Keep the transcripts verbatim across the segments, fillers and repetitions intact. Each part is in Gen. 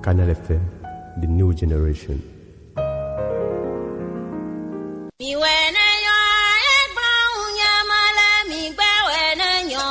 Canal F M, the new generation. Mi wɛ ne nyɔ, egbawo nyama le, mi gbɛ wɛ ne nyɔ,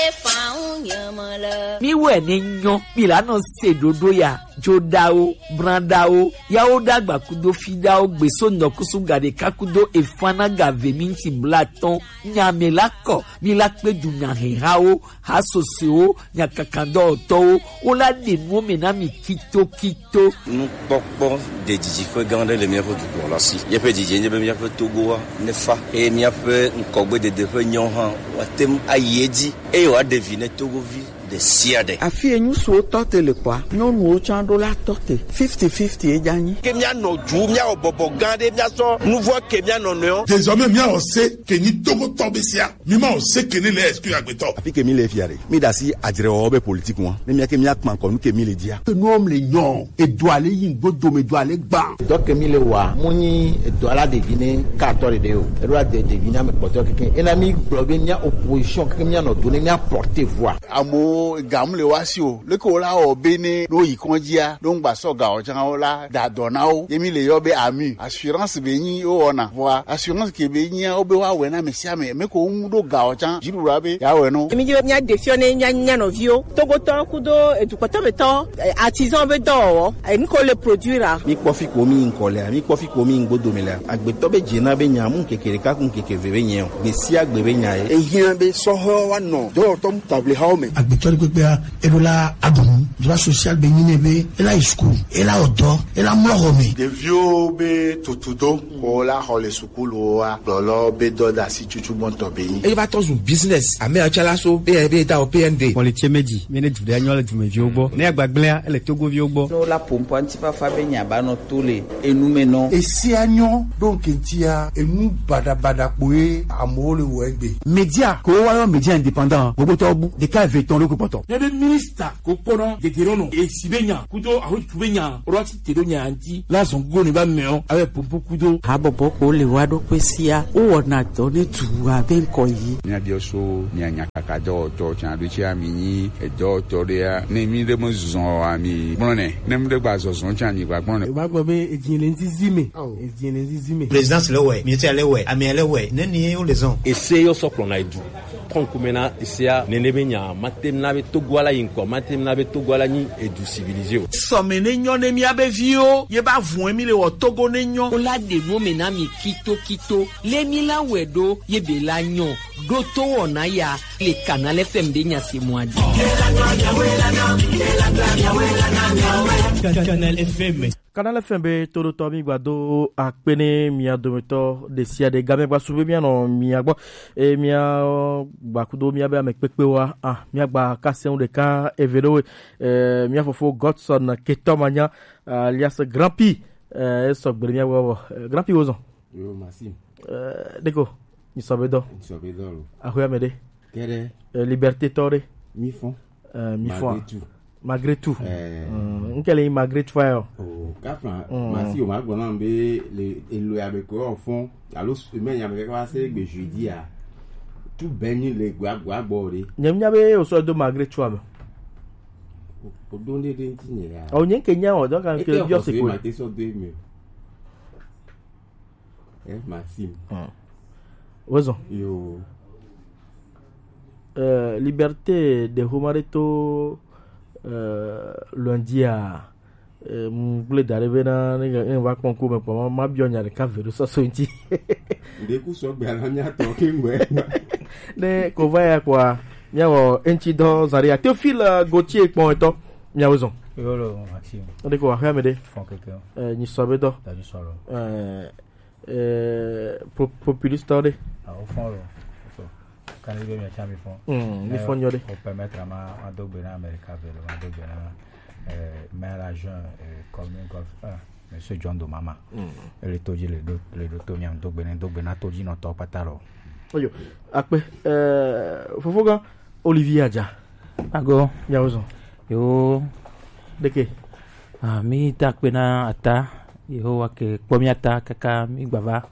efawo nyama le. Mi wɛ ne nyɔ, mi la nɔ se ɖoɖo ya, joɖawo, branɖawo, yawo ɖagba kudo fiɖawo, gbeso nɔkusu gaɖeka kudo efana gave minti blatɔn, nyame la kɔ, mi la kpe du nyahehawo, hasosewo, nyakakandɔwɔtɔwo, wo la ɖe nuwo me na mi kitokito. Nukpɔkpɔ ɖe didiƒe gã aɖe le míaƒe dukɔ la si. Míaƒe didi nye be míaƒe Togoa nefa eye míaƒe ŋkɔgbedede ƒe nyawo hã woate ŋu ayi edzi eye wòaɖe vi ne Togovi ɖe sia ɖe. Afi yi nyusuwo tɔ te le kpɔa, nyɔnuwo tsã ɖo la tɔ te. Fifty fifty ye dza nyi. Ke míanɔ du, míawɔ bɔbɔ gã ɖe, míasɔ nuvɔ ke míanɔ nɔewo. Désormais, míawɔ se ke nyi Togotɔ be sia. Mi ma o se ke ne le excuse agbetɔ. Afi ke mi le fia ɖe, mi ɖe asi adzrewɔwɔ be politique ŋua. Ne mía ke mía kpa ŋkɔ nu ke mi le dzia. Ke nuwo le nyɔ, edo ale yi ŋgbo dome do ale gba. Dɔ ke mi le wa, mu nyi edo ala ɖevi ne ka tɔ ɖeɖe o. Eɖo la de ɖevi na me kpɔtɔ keke. Ena mi gblɔ be mía opposition keke mía nɔ do ne mía porter voix. Amewo ga mu le wa si o. Leke wo la wɔ be ne ɖo yi kɔndzia, ɖo ŋgba sɔ ga o tsã wo la da dɔ na wo. Ye mi le yɔ be ami. Assurance be nyi wo wɔna. Vɔa assurance ke be nyia wo be wa wɛ na ame sia ame. Me ko ŋu ɖo ga o tsã. Dziɖuɖua be ya wɛ no. Emi dzi be mía ɖe fiɔ ne mía nya nɔviwo. Togotɔ kudo edukpɔtɔ be tɔ, eh, artisan be dɔwɔwɔ. Eh, nu ko le produire a. Mi kpɔ fi ko mi ŋkɔ lea, mi kpɔ fi ko mi ŋgbo dome lea. Agbetɔ be dze na be nya mu ŋkeke ɖeka ku ŋkeke ve be nyɛ o. Gbe sia gbe be nya ye. Ehiã be sɔhɔ wa nɔ dɔwɔtɔ mu table hawo me. Agbetɔ ɖe kpekpea, eɖo la aɖu nu. Droit social be nyi nɛ be ela yi school, ela wɔ dɔ, ela mlɔ xɔ me. Ɖeviwo be tutudo ko la xɔ le sukulu wa gblɔlɔ be dɔdasi tutu gbɔntɔ be nyi. Eva tɔ zu business. Ame atsala so be be da o P N D. Kpɔlitse meji, mi ne du ɖe anyɔ le dumeviwo gbɔ. Ne agbagblẽa, ele Togoviwo gbɔ. No la pompo antifafa be nya ba nɔ to le enu me nɔ. Esia nyɔ ɖo ŋkɛntia enu baɖabaɖa kpoe amewo le wɔ egbe. Média ko wa yɔ média indépendant, gbogbo tɔ bu ɖeka eve tɔn ɖo kpɔtɔ. Ne be minista ko kpɔnɔ gegere nɔ esi be nya kudo aho tu be nya rɔ ti te ɖo nya anti la zɔn go ne ba mɛ o abe pompo kudo. Habɔbɔ ko le wa ɖo kpe sia, wo wɔna dɔ ne tu abe ŋkɔ yi. Mía biɔ so mía nya kaka dɔwɔtɔ tsan ɖo tsi ami nyi edɔwɔtɔ ɖea, ne mi ɖe me zɔn ami gblɔ nɛ, ne mi ɖe gba zɔzɔn tsan mi gba gblɔ nɛ. Ba gbɔ be edzi le nzizi me. Edzi le nzizi me. Présidence le wɛ, ministère le wɛ, amia le wɛ, ne ni yo le zɔn. Ese yo sɔ kplɔna edu. Kɔnkume na esea nene be nya, mate na be Togo ala yi ŋkɔ, mate na be Togo ala nyi edu civilisé o. Sɔme ne nyɔ ne mía be viwo, ye ba vun emi le wɔ Togo ne nyɔ. Wo la ɖe nu me na mi kito kito, le mi la wɛ ɖo, ye be la nyɔ, ɖo to wɔna ya, le Canal F M ɖe nya se mɔ adi. Canal F M. Canal F M be toɖotɔ, mi gba do akpe ne mia dometɔ ɖe sia ɖe. Game gba su be mia nɔ mia gbɔ. E mia gba kudo mia be ame kpekpe wa. Ah, mia gba kase ŋu ɖeka eve ɖo we. Eh, mia fofo Godson Ketɔ Manya, alias Grand P. Eh, esɔ gbe ɖe mia gbɔ. Eh, Grand P wozɔn. Yo, Maxime. Eh, ɖeko, nyi sɔ be dɔ. Nyi sɔ be dɔ lo. Axwe ame ɖe. Kɛɖɛ. Eh, Liberté tɔ ɖe. Mi fɔn. Eh, mi fɔn. Malgré tout. Malgré tout. Eh. Mm, nke le malgré tout ayo. Oh, kafla, mm. Masi o ma gbɔ na be le elo ya be ko fɔn. Alo s-, me nya be ka se gbe jeudi a. Tout beni le gba gba gbɔ ɖe. Nye nya be o sɔ do malgré tout ame. O, o do nde de nti nye ya. O nye ke nya o do kan ke bio se ko. Ma te sɔ do me. Eh, Maxime. Hmm. Wezɔn. Yo. Euh, Liberté de Homareto, euh, lundi a, euh, mu gblẽ da ɖe be na, ne, ne va kpɔ ŋku me kpɔ, ma, ma biɔ nya ɖeka ve ɖo sɔsɔ ŋuti. Ɖe ku sɔgbe ala mía tɔ ke ŋgbe. Ne ko va ya kpɔa, mía wɔ eŋuti dɔ zã ɖe ya. Théophile Gauthier kpɔ etɔ, mía wezɔn. Yo lo, Maxime. Ɖe ko axwe ame ɖe. Fɔn keke. Euh, nyi sɔ be dɔ. Da nyi sɔ lo. Euh, Eh, po-, populiste tɔ ɖe. Ah, o fɔn lo. So, kan be mi tsa mi fɔn. Mm, mi fɔn nyɔ ɖe. O permettre ma, ma do gbe na America ve lo, ma do gbe na, eh, maire adjoint, eh, commune Golfe un, Monsieur John Domama. Mm. Ele to dzi le ɖo, le ɖo to mia do gbe ne, do gbe na to dzi nɔtɔ kpata lo. Oyo, akpe, eh, fofo gã, Olivier Adja. Ago. Mia wozɔn. Yo. Ɖeke. Ah, mi da akpe na Ata. Yehowa ke kpɔ mia ta kaka mi gbava.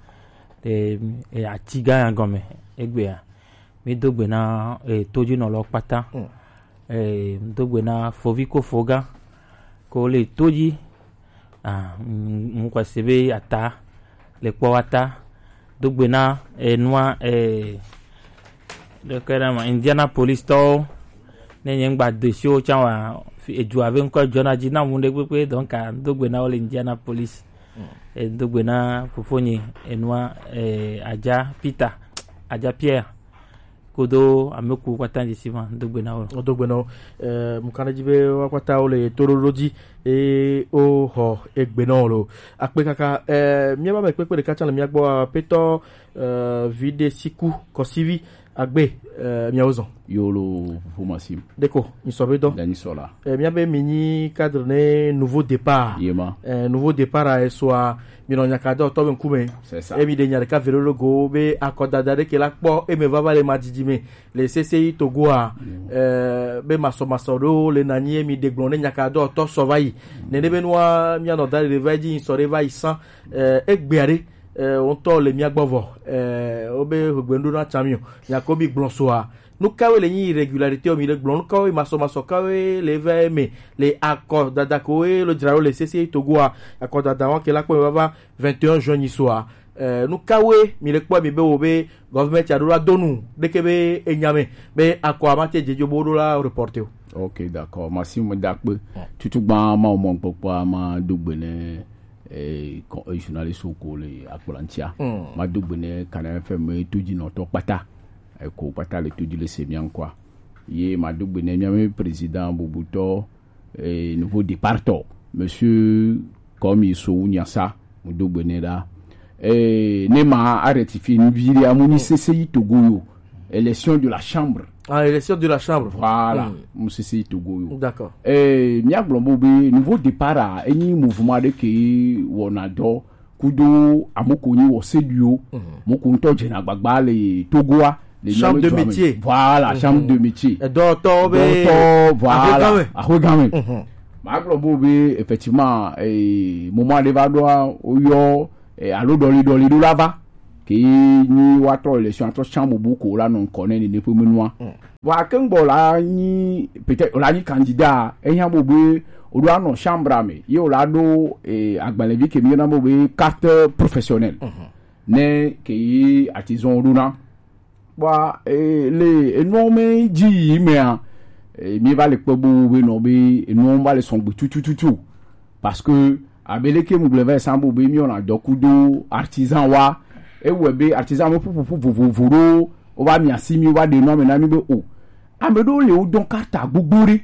E, e, ati gã ya gɔme. Egbea. Mi do gbe na, e, todzinɔlɔ kpata. Mm. E, mi do gbe na fovi ko foga. Ko le to dzi. Ah, ŋu xɔse be ata le kpɔ wa ta. Do gbe na enua, eh, ɖeke ɖe ma Indianapolis tɔwo. Ne nye ŋgba do si wo tsã wa, fi- edua be ŋkɔ dzɔna dzi na mu ɖe kpekpe, donc ah, do gbe na wo le Indianapolis. Eh, do gbe na fofonye enua, eh, Adja Peter, Adja Pierre. Kodo ame ku kpata dzi si ma do gbe na wo. Wodo gbe na wo. Eh, mu kana dzi be wa kpata wo le toɖoɖo dzi e o xɔ egbe na wo lo. Akpe kaka, eh, mía ba me kpekpe ɖeka tsã le mía gbɔ, aƒetɔ, eh, vi ɖe si ku kɔsivi agbe, eh, mía wo zɔn. Yo lo ƒo masim. Ɖeko, mi sɔ be dɔ. Dani sɔ la. Eh, mía be mi nyi cadre ne nouveau départ. Yema. Eh, nouveau départ a esoa, mi nɔ nyaka dɔ tɔ be ŋkume. C'est ça. E mi ɖe nya ɖeka velo go be akɔdada ɖe ke la kpɔ e me vava le ma didi me. Le sese yi Togo a, eh, be masɔmasɔ ɖewo le nanyi ye mi ɖe gblɔ ne nyaka dɔ tɔ sɔ va yi. Nene be nua mía nɔ da ɖe va yi dzi sɔ ɖe va yi san, eh, egbea ɖe, eh, wo ŋutɔ le mía gbɔ vɔ, eh, wo be hegbe ŋɖo na tsa mi o. Nyako bi gblɔ soa. Nu kawoe le nyi irrégularité o mi le gblɔ? Nu kawoe masɔmasɔ kawoe le va eme le akɔdada ko e lo dzra ɖo le sese yi Togo a? Akɔdada wa ke la kpɔ me vava vingt et un juin nyi soa. Eh, nu kawoe mi le kpɔ mi be wo be government a ɖo la do nu ɖeke be enya me be akɔ a ma te dze dzo bo ɖo la reporter o. Ok, d'accord. Merci, mo dakpe. Tutu gba ma mo gbogbo ma do gbe ne, eh, ko- eh, journaliste ko le akplantia. Ma do gbe ne Canal F M to dzi nɔtɔ kpata. E ko kpata le to dzi le se mia nkwa. Ye ma do gbe ne mia me président bubutɔ, eh, nouveau départ tɔ, monsieur, comme il so unya sa, mo do gbe ne la. Eh, ne ma a rectifier ni viri a mo ni sese yi Togo yo. Élection de la chambre. Ah, élection de la chambre. Voilà, mo sese yi Togo yo. D'accord. Eh, mia gblɔ bo be nouveau départ a, enyi mouvement de ke wɔna dɔ kudo amoko nyi wɔ seduo. Moko ŋutɔ dzena gbagba le Togoa, le Chambre de métier. Voilà, chambre de métier. Edɔtɔ be dɔtɔ, voilà, ahogamɛ. Ahogamɛ. Ma gblɔ bo be effectivement, eh, moment de va ɖoa, woyɔ, eh, alo dɔli dɔli ɖo la va. Ke nyi wa trɔ élection, atrɔ chambre bu ko la nɔ ŋkɔ ne ne ƒe menua. Vɔ akeŋgbɔ la nyi, peut-être la nyi candidat, ehiã bo be o ɖo anɔ chambre me, ye o la ɖo, eh, agbalẽvi ke mi yɔna bo be carte professionnelle. Ne ke yi artisan o ɖona. Bua, eh, le enuɔ me dzi yi mea, eh, mi va le kpɔ bo be nɔ be enuɔ va le sɔgbe tutututu. Parce que, abe leke mu gblɔ vɛ san bo be mi wɔna dɔ kudo artisan wa, ewɔe be artisan me ƒuƒoƒu vovovo ɖo, wo va mia si mi, wo va ɖe nɔ me na mi be o. Ame ɖewo le wo dɔn carte gbogbo ɖe,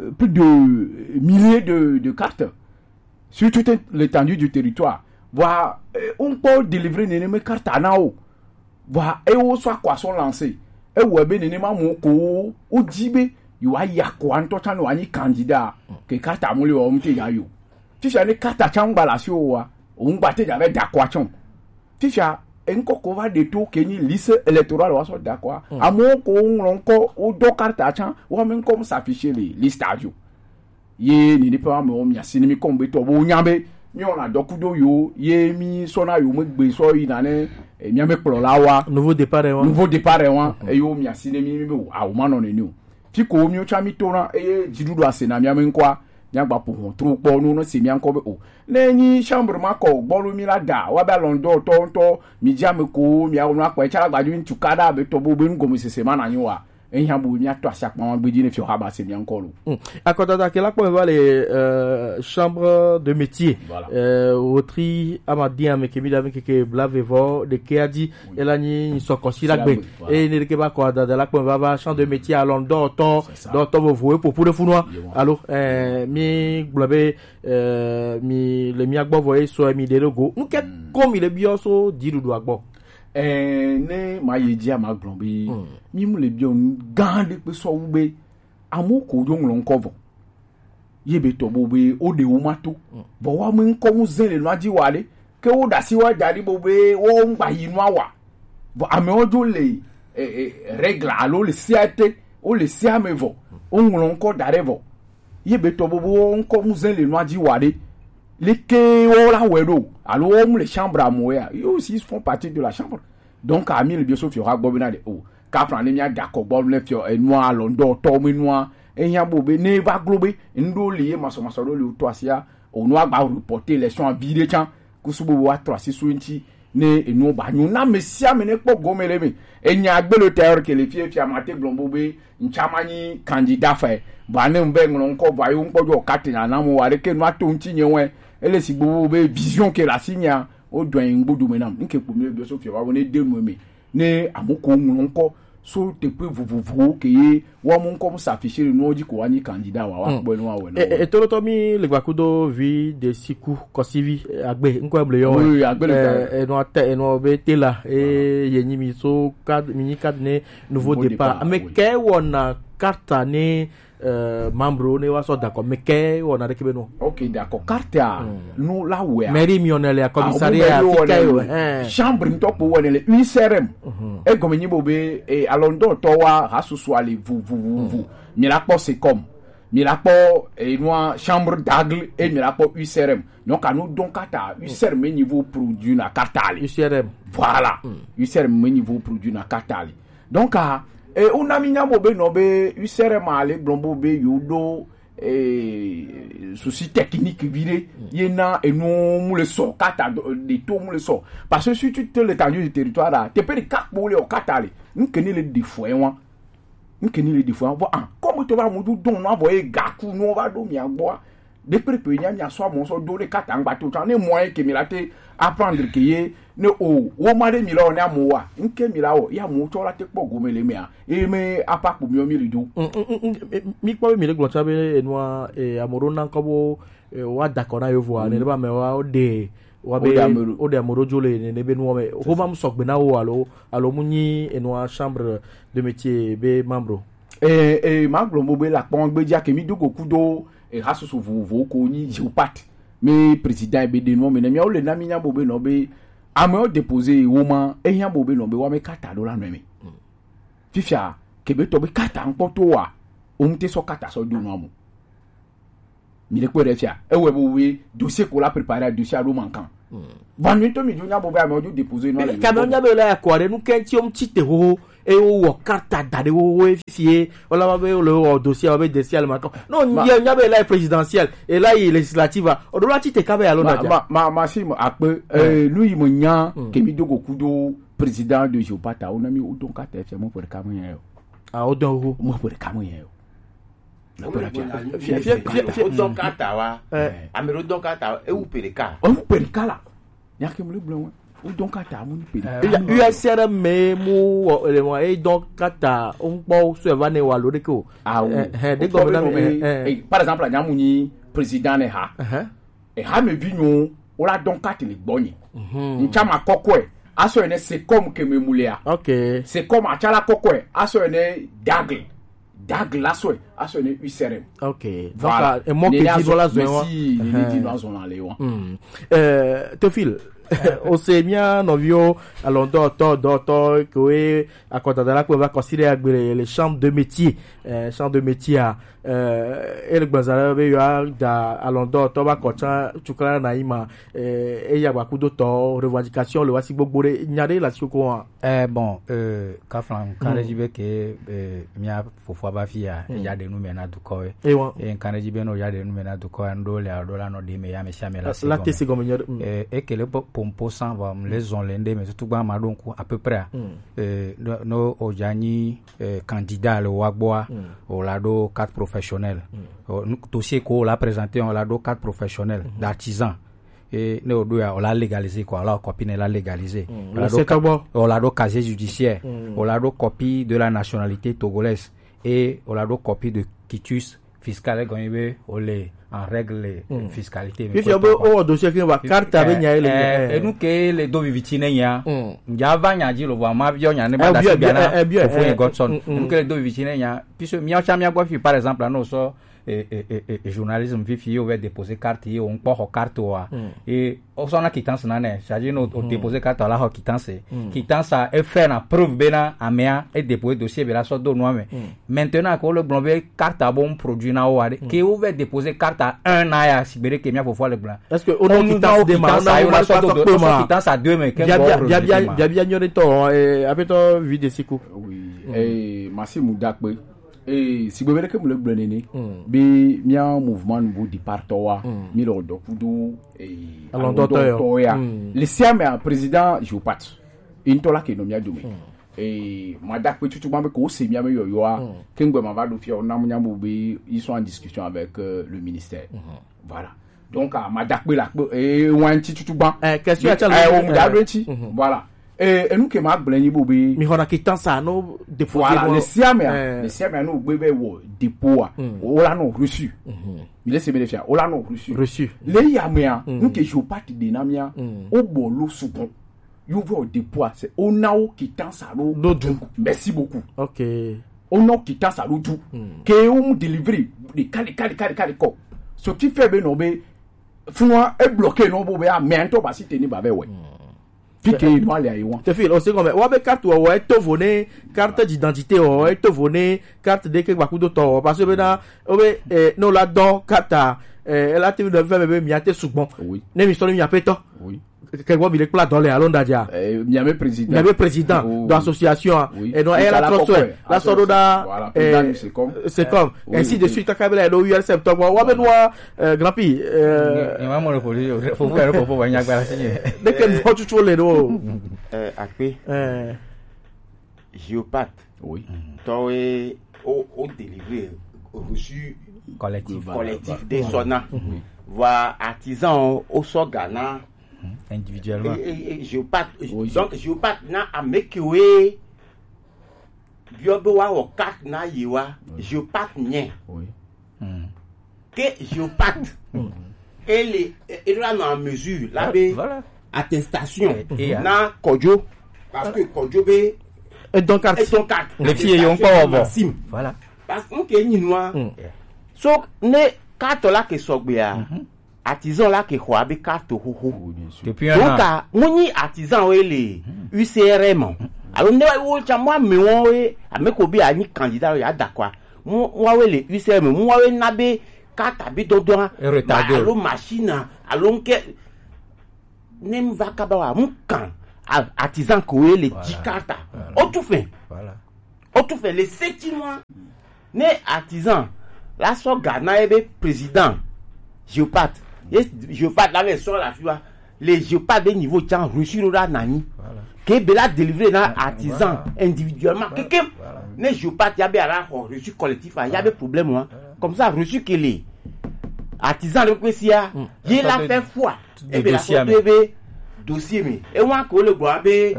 euh, plus de milliers de, de cartes sur toute l'étendue du territoire. Vɔa, eh, wo ŋkpɔ délivrer nene me carte na wo. Vɔa, ewo sɔ akɔ asɔ lancer. Ewɔe be nenema mo ko wo, wodzi be yewoayi akɔa ŋutɔ tsã ne woanyi candidat. Ke carte mu le wa, wo ŋutɔ ya yo. Fifia ne carte tsã ŋgba le asiwò wa, wo ŋgba te dza va da akɔa tsã o. Fifia, eŋkɔ ko va ɖe to ke nyi liste électorale wa sɔ da akɔa. Amewo ko woŋlɔ ŋkɔ, wodɔ carte tsã, wo ame ŋkɔ mu s'afficher le liste a dzi o. Ye nene ƒe amewo mia si ne mi kɔm be tɔ bo nya be mi wɔna dɔ kudo yo ye mi sɔna yo me gbe sɔ yina ne, eh, mia me kplɔla wa. Nouveau départ wa. Nouveau départ wa. Eye wo mia si ne mi mi be o, awo ma nɔ nene o. Fi ko mi tsã mi tona eye dziɖuɖu ase na mia me ŋkɔa, mia gba ƒo hɔn tro kpɔ no ne se mia ŋkɔ be o. Ne nyi chambre ma kɔ gbɔ lo mi la da wa be alɔndɔ tɔ ŋutɔ mi dzi ame ko mi awɔ nu akpɔ etsa la gbadzo ŋutsu ka ɖa be tɔ bo be nu gɔmesese ma na nyi wa. Ehiã bu mia tɔ asi akpa wa gbedzi ne fiɔ haba se mia ŋkɔ lo. Hmm. Akɔdada ke la kpɔ va le, euh, chambre de métier. Voilà. Euh, wotri amadi ame ke mi da mi keke blave vɔ de ke adi. Oui. Ela nyi sɔkɔsi la gbe. Voilà. E ne ke ba kɔ dada la kpɔ va va chambre de métier alɔ dɔtɔ. C'est ça. Dɔtɔ vovo e popo de funua. Alo, euh, mi gblɔ be, euh, mi le mia gbɔ vɔ e sɔ mi de go. Nu ke ko mi le biɔ so dziɖuɖua gbɔ. Ɛɛ, ne ma yi dzia ma gblɔ be, mi mu le biɔ nu gã ɖe kpe sɔ wu be, amewo ko wodzo ŋlɔ ŋkɔ vɔ. Ye be tɔ bo be wo ɖe wo ma to. Vɔ wa me ŋkɔ ŋu ze le nua dzi wa ɖe. Ke wo ɖe asi wa da ɖi bo be wo ŋgba yi nua wa. Vɔ amewo dzo le, e, e, règle alo le sea te, wo le sea me vɔ. Wo ŋlɔ ŋkɔ da ɖe vɔ. Ye be tɔ bo be wo ŋkɔ ŋu ze le nua dzi wa ɖe. Leke wo la wɛ ɖo? Alo wo mu le chambre amewo ya? Yo aussi, ils font partie de la chambre. Donc, ami le biɔ so fiɔ ha gbɔ be na de o. Kafra ne mia da kɔ gbɔ ne fiɔ enua lɔndɔ tɔ me nua, Ehiã bo be ne va glo be ŋɖo li ye masɔmasɔ ɖo li wotɔ asia, onu agba reporter élection avi ɖe tsã kusu bo wa trɔ asi so ŋti ne enu ba nyo na ame sia ame ne kpɔ gɔme le me. Enya gbe le tailleur ke le fie fia ma te gblɔ bo be ŋtsa ma nyi candidat fɛ. Ba ne ŋbe ŋlɔ ŋkɔ va yo ŋkpɔ jo kate na na mo wa ɖe ke nu ato ŋti nye wɛ. Ele si gbo be vision ke la si nya o dɔn ŋgbodo me nam. Nke kpo mi do so fia wa wo ne de nu me. Ne amu ko ŋlɔ ŋkɔ so teƒe vovovowo ke ye woamu ŋkɔ mu sa affiché ɖe nuwo dzi ko woanyi candidat wa woakpɔe ne woawɔe na wo. Etolotɔ mi le gbakudo vi de siku kɔsivi agbe ŋkɔ eble yɔ. Oui, agbe le gba. Enua te enua be te la e ye nyi mi so card mi nyi card ne nouveau départ. Ame ke wɔna carte ne euh, membre ne wa sɔ dakɔ mɛ kɛ wɔna ɖe kebe nɔ. Ok, d'accord. Carte a nu la wɛ a. Mairie mi wɔna le commissariat a fi kɛ wɔ. Chambre ŋutɔ kpo wɔna le U C R M. Egɔme nyi bo be e alɔ ŋdɔ tɔ wa hasusu ali vu vu vu vu. Mi la kpɔ Secom. Mi la kpɔ enua chambre d'aigle et mi la kpɔ U C R M. Donc à nous donc carte a U C R M niveau produit na carte ali. U C R M. Voilà. U C R M niveau produit na carte ali. Donc a e una mi nya bo be nɔ be U C R M a le gblɔ bo be yo do e souci technique vi ɖe ye na enu mu le sɔ kata de to mu le sɔ parce que si tu te le tendu du territoire la te pe de kakpo le o kata le nke ni le de fo en wa nke ni le de fo en wa ah comme to ba mu du don na vo e gaku no va do mi agbo a de pe pe nya nya so mo so do le kata ngba to tan ne moyen ke mi la te apprendre ke ye ne o wo ma ɖe mi lɔ ne amewo wa ŋke mi la wɔ ya amewo tsɔ la te kpɔ gome le mea eye me apa kpo miɔ mi li do. Mi kpɔ be mi le gblɔ tsa be enua ame ɖo na ŋkɔ bo wa da kɔ na yovoa ne ɖe ba me wa o de wa be o de ame ɖo dzo le ne be nuwa me ho ma mu sɔgbe na wo alo alo mu nyi enua chambre de métier be membre. Ee ee ma gblɔ mo be la kpɔn gbedzia ke mi do go kudo e hasusu vovovowo ko nyi Géopat. Mi président be de nuwa me ne miawo le na mi nya bo be nɔ be amewo déposer wo ma ehiã bo be nɔ be wa me kata ɖo la nɔ me. Fifia kebe tɔ be kata ŋkpɔ to wa o ŋte sɔ kata sɔ do nɔ mo. Mi le kpɔ ɖe fia ewɔ bo we dossier ko la préparer dossier aɖo mankan. Vanu to mi jo nya bo be amewo jo déposer nɔ le. Kame nya be la ko ɖe nu ke ti o ti te ho e wo wɔ kata da ɖe wo wo fie o la ba be le wɔ dossier o be dossier le mankan. Non nya be la présidentielle et la législative o do la ti te ka be alo na. Ma ma ma si mo akpe eh nu yi mo nya ke mi do go kudo président de Géopat a o na mi o don kata fia mo pere ka mo nya yo. Ah o don ho mo pere ka mo nya yo. O dɔn kata wa ame ɖo dɔn kata ewu pere ka. Ewu pere ka la. Nya ke mo le gblɔ wa o dɔn kata mo ni pere ka. U S R me mu wɔ le mo e dɔn kata o ŋkpɔ so e va ne wa lo ɖeke o. Awo he de gɔme na me. Par exemple nya mu nyi président ne ha. Eha me vi nyo o la dɔn kati le gbɔ nyi. Ntsa ma kɔkɔe aso ene c'est comme que me mulea. Ok. C'est comme atsala kɔkɔe aso ene dagle dagle la soe aso ene U C R M. Ok. Voilà. Donc e mo ke di la zo wa. Merci ni di la zo na le wa. Euh Théophile o se mia nɔviwo alɔndɔtɔ dɔtɔ ke akɔdada la kpe va kɔsi ɖe agbe le chambre de métier. Chambre de métier a ele gbɔnza ɖe be yewoa da alɔndɔtɔ va kɔ tsã tsukla na yi ma eya gba kudo tɔ revendication le wasi gbogbo ɖe nya ɖe le asi koko hã. Eh, bon, euh, kaflan kan ɖe dzi be ke eh, mia fofoa va fi ya ya ɖe nu me na dukɔ we. Ewa. Eh, kan ɖe dzi be no ya ɖe nu me na dukɔ ya ndo le alo la no ɖe me ya me sia me la se la te se gɔme nya ɖe. Eh, e ke le pompo san va le zɔn le nde me tutu gba ma ɖo ŋku à peu près. Eh, no o ja nyi eh, candidat le wa gbɔa o la ɖo carte professionnelle. Dossier ko o la présenter o la ɖo carte professionnelle d'artisan. Et ne o ɖo ya o la légaliser quoi, o la copie ne la légaliser. O la ɖo casier judiciaire, o la ɖo copie de la nationalité togolaise et o la ɖo copie de quitus fiscal egɔnyi be o le en règle fiscalité. Fifia be o wɔ dossier ke wa carte be nya ele. Enu ke le do viviti ne nya. Nja va nya dzi lo vɔ ma viɔ nya ne ba da si bia na. Fofo ye Godson. Enu ke le do viviti ne nya. Puisque mia cha mia gbɔ fi par exemple no so e, e, e, e, journalisme fifi ye o vɛ déposer carte ye o ŋkpɔ xɔ carte wa. E o sɔ na quittance na nɛ, c'est-à-dire no o déposer carte la xɔ quittance. Quittance a e fait na preuve be na amea e déposer dossier be la sɔ do nua me. Maintenant que o le gblɔ be carte a bo n produit na o wa de ke o vɛ déposer carte a un an ya si be de ke mia fofo le gblɔ. Est-ce que o no quittance de ma o na o ma sɔ do o sɔ quittance a deux me ke bia bia bia bia bia nyɔ de tɔ eh apetɔ vi de siku. Oui. Eh masimu dakpe. Eh, si gbebe ɖeke mu le gblɔ nene. Mm. Be mia mouvement nouveau départ tɔ wa. Mm. Mi lɔ dɔ kudo, eh, alɔndɔtɔ yɔ. Alɔndɔtɔ ya. Mm. Le sia me a président Jopat. Ŋutɔ la ke nɔ mia dome. Mm. Eh, ma da kpe tutu ma be ko se mia me yɔyɔa. Mm. Ke ŋgbe ma va ɖo fia, o na mu nya bo be ils sont en discussion avec, euh, le ministère. Mm. Voilà. Donc, ah, ma da kpe la kpe, eh, wan ti tutu gban. Eh, question ya tsa le, eh, o mu da eh, ɖo ŋti. Mhm. Voilà. Eh, enu ke ma gblẽ nyi bo be. Mi xɔna quittance a no déposer. Voilà, no, le sia me a, eh, le sia me a no gbe be wo dépôt a. Mm. O la no reçu. Mhm. Mi le se be le fia, o la no reçu. Reçu. Le ya me a, mm, nu ke Jopat de na mia. Mm. O bo lo sugbɔn. Yo ve o dépôt a, c'est o na o quittance a lo. Do du. Merci beaucoup. OK. O na o quittance a lo du. Mm. Ke o mu délivrer de kali, kali, kali, kali kɔ. Ce qui fait be no be, funua e bloqué no bo be a, mais to ba si teni ba be we. Mm. Fi ke no ale ayi wan. Te fi, o se ko me, wa be carte wa, wa e to vo ne carte d'identité wa, wa e to vo ne carte de ke gbakudo tɔ wa, parce que be na, o be, eh, no la dɔ carte a, eh, la te vi de fɛ be, be mi a te sugbɔn. Oui. Ne mi sɔ ni mi a pe tɔ. Oui. Ke gbɔ mi le kpla dɔ le alo nda ja. Eh, mi a be président. Mi a be président, oh, de association, oui. Et non, oui, elle a trop soin. La sɔ do da, voilà, président, eh, c'est comme, c'est comme. Oui, ainsi de suite, kaka be la do U R S M tɔ gbɔ. Wa be no, euh, Grand Pi, euh, ni, ni ma mo le poli, fo, fo, fo, fo, wa nya gba si. De ke no tutu le do. Euh, akpe. Euh. Géopath. Oui. Tɔwe o, o délivrer reçu collectif. Collectif de sɔna. Oui. Voilà, artisan o, o sɔ ga na. Individuellement. Et, et, et Géopath, oui, donc Géopath na ameke we. Bio be wa wo carte na ye wa. Oui. Géopath nye. Oui. Hmm. Ke Géopath. Hmm. Et les, et là, en mesure, là, ah, be voilà. Attestation. Et, et, na Kodjo. Parce que Kodjo be. Et donc, carte. Et donc, carte. Les filles, ils ont pas, bon. Maxime. Voilà. Parce que, ok, ni noir. Hmm. So, ne carte là que sogbe a. Mhm. Artisan là que quoi, be carte ho ho. Oui, bien sûr. Depuis un an. Donc, a, on y artisan, oui, les U C R M. Alors, ne, oui, tiens, moi, mais on, oui, à mes copies, à ni candidat, il y a d'accord. Moi, moi, oui, les U C R M, moi, oui, n'a be carte à be dodo, hein. Et retardé. Bah, alors, machine, hein, alors, que, ne va kaba wa, mu kan, a, artisan, ko, oui, les dix cartes, hein. Voilà. Voilà. Au tout fait. Voilà. O tu fɛ le seti mois. Ne artisan la sɔ ga na ye be président Géopath. Ye Géopath la be sɔ la fi wa. Le Géopath be niveau tsan reçu lo la nani. Voilà. Ke be la délivrer na artisan individuellement. Voilà. Kekem. Voilà. Ne Géopath ya be ala xɔ reçu collectif a, ya be problème wa. Voilà. Comme ça, reçu que les artisans de Kwesiya, ye la fait foi. E be la sɔ to be dossier me. E wa ko le gbɔ be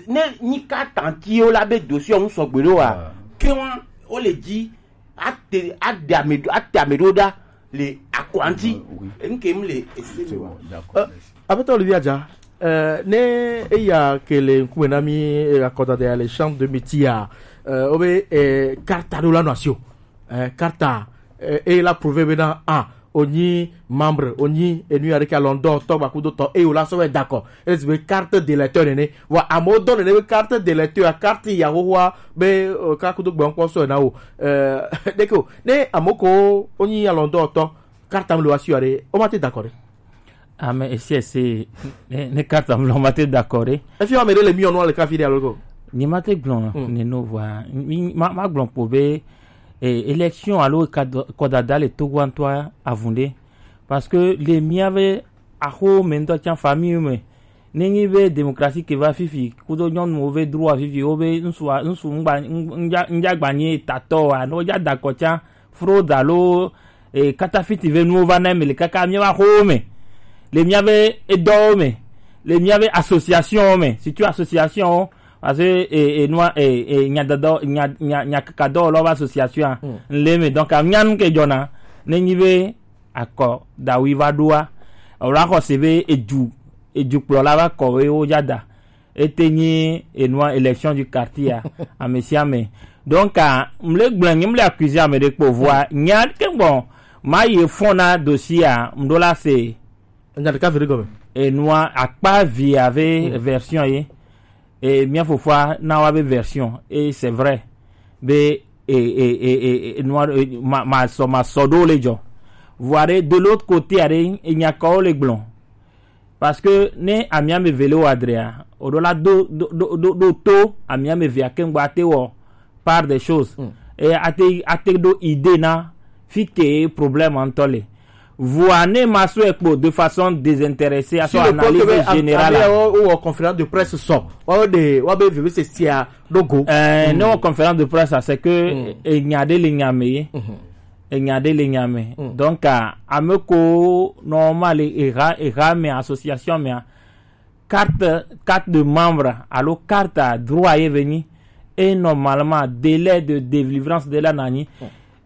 ne ni ka tanti o la be dossier on sɔ gbe do wa. Ke wa o le di ate ade amedo ate amedo da le akwanti. E nke m le ese wa. D'accord. Aƒetɔ Olivier Adja, eh, ne eya ke le ŋkume na mi, eh, akɔdada ya le chambre de métier a, eh, wobe, eh, carte aɖewo la nɔ asi o. Eh, carte, eh, e la prouver bena, ah, onyi membre, onyi enu ya ɖeke alɔndɔ tɔ gbakudo tɔ, eye wòla sɔ vɛ da kɔ. Ele si be carte d'électeur nene. Vɔ amewo dɔ nene be carte d'électeur, carte ya xoxoa be, eh, ka kudo gbe ŋkpɔ sɔ na wo. Eh, ɖeke o. Ne amewo ko wonyi alɔndɔ tɔ, carte am le woasi o ɖe, womate da kɔ ɖe. Ame esi esi, ne, ne carte am lɔ, mate d'accord ɖe. Efi ame ɖe le miɔ nua le kafi ɖe alo ko? Ni mate gblɔ, hmm, ne no vɔa, mi, ma, ma gblɔ kpo be, eh, élection alo kadɔ-, kɔdada le Togo ŋutɔa avun ɖe. Parce que le mia be axo me ŋutɔ tsa famille me, ne nyi be démocratie ke va fifi, kudo nyɔnuwo be droit fifi, wo be ŋsu, ŋsu ŋgba, ŋ-, ŋdza, ŋdza gba nyi tatɔ wa, ne wodza da kɔ tsa, fraude alo, eh, katafiti ve nuwo va na eme le kaka míaƒe axowo me, le míaƒe edɔwo me, le míaƒe associationwo me, surtout associationwo, parce que, eh, eh, nua, eh, eh, nyadɔdɔ, nya, nya, nyakakadɔwɔlawo ƒe association a, hmm, le eme. Donc, amia nu ke dzɔna, ne nyi be akɔdawi va ɖoa, wòla xɔ se be edu, edukplɔla va kɔ be wodza da. Ete nyi enua élection du quartier a, ame sia ame. Donc, ah, mle gblẽ nyi mle accuser ame ɖe kpo vɔa, nya ke gbɔ, ma ye fɔn na dossier a, mɖo la se. Nya ɖeka ve ɖe gɔme. Enua akpa vi ave, hmm, version ye. E mia fofoa na wa be version. Et c'est vrai. Be, e, e, e, e, e, enua, e, ma, ma sɔ, ma sɔ ɖo le dzɔ. Vɔa ɖe, de l'autre côté a ɖe, enya kɔwo le gblɔ. Parce que ne ami ame eve le wɔ adrea, o ɖo la do, do, do, do, do to ami ame evea keŋ gba te wɔ part des choses. Mm. e ate ate ɖo idée na fi ke problème ŋutɔ le. Vɔa ne ma sɔe kpo de façon désintéressée, si aso le kpɔ analyse ke be am- générale ame a. Wo wɔ conférence de presse sɔ, wa wo de wa be veve se sia ɖo go. Euh, ne wɔ conférence de presse a, c'est que enya ɖe le nya me ye. Enya ɖe le nya me. Donc, ah, ame ko normal eha eha me, association me a, carte carte de membre alo carte a droit ye ve nyi. Et normalement délai de délivrance de la na nyi.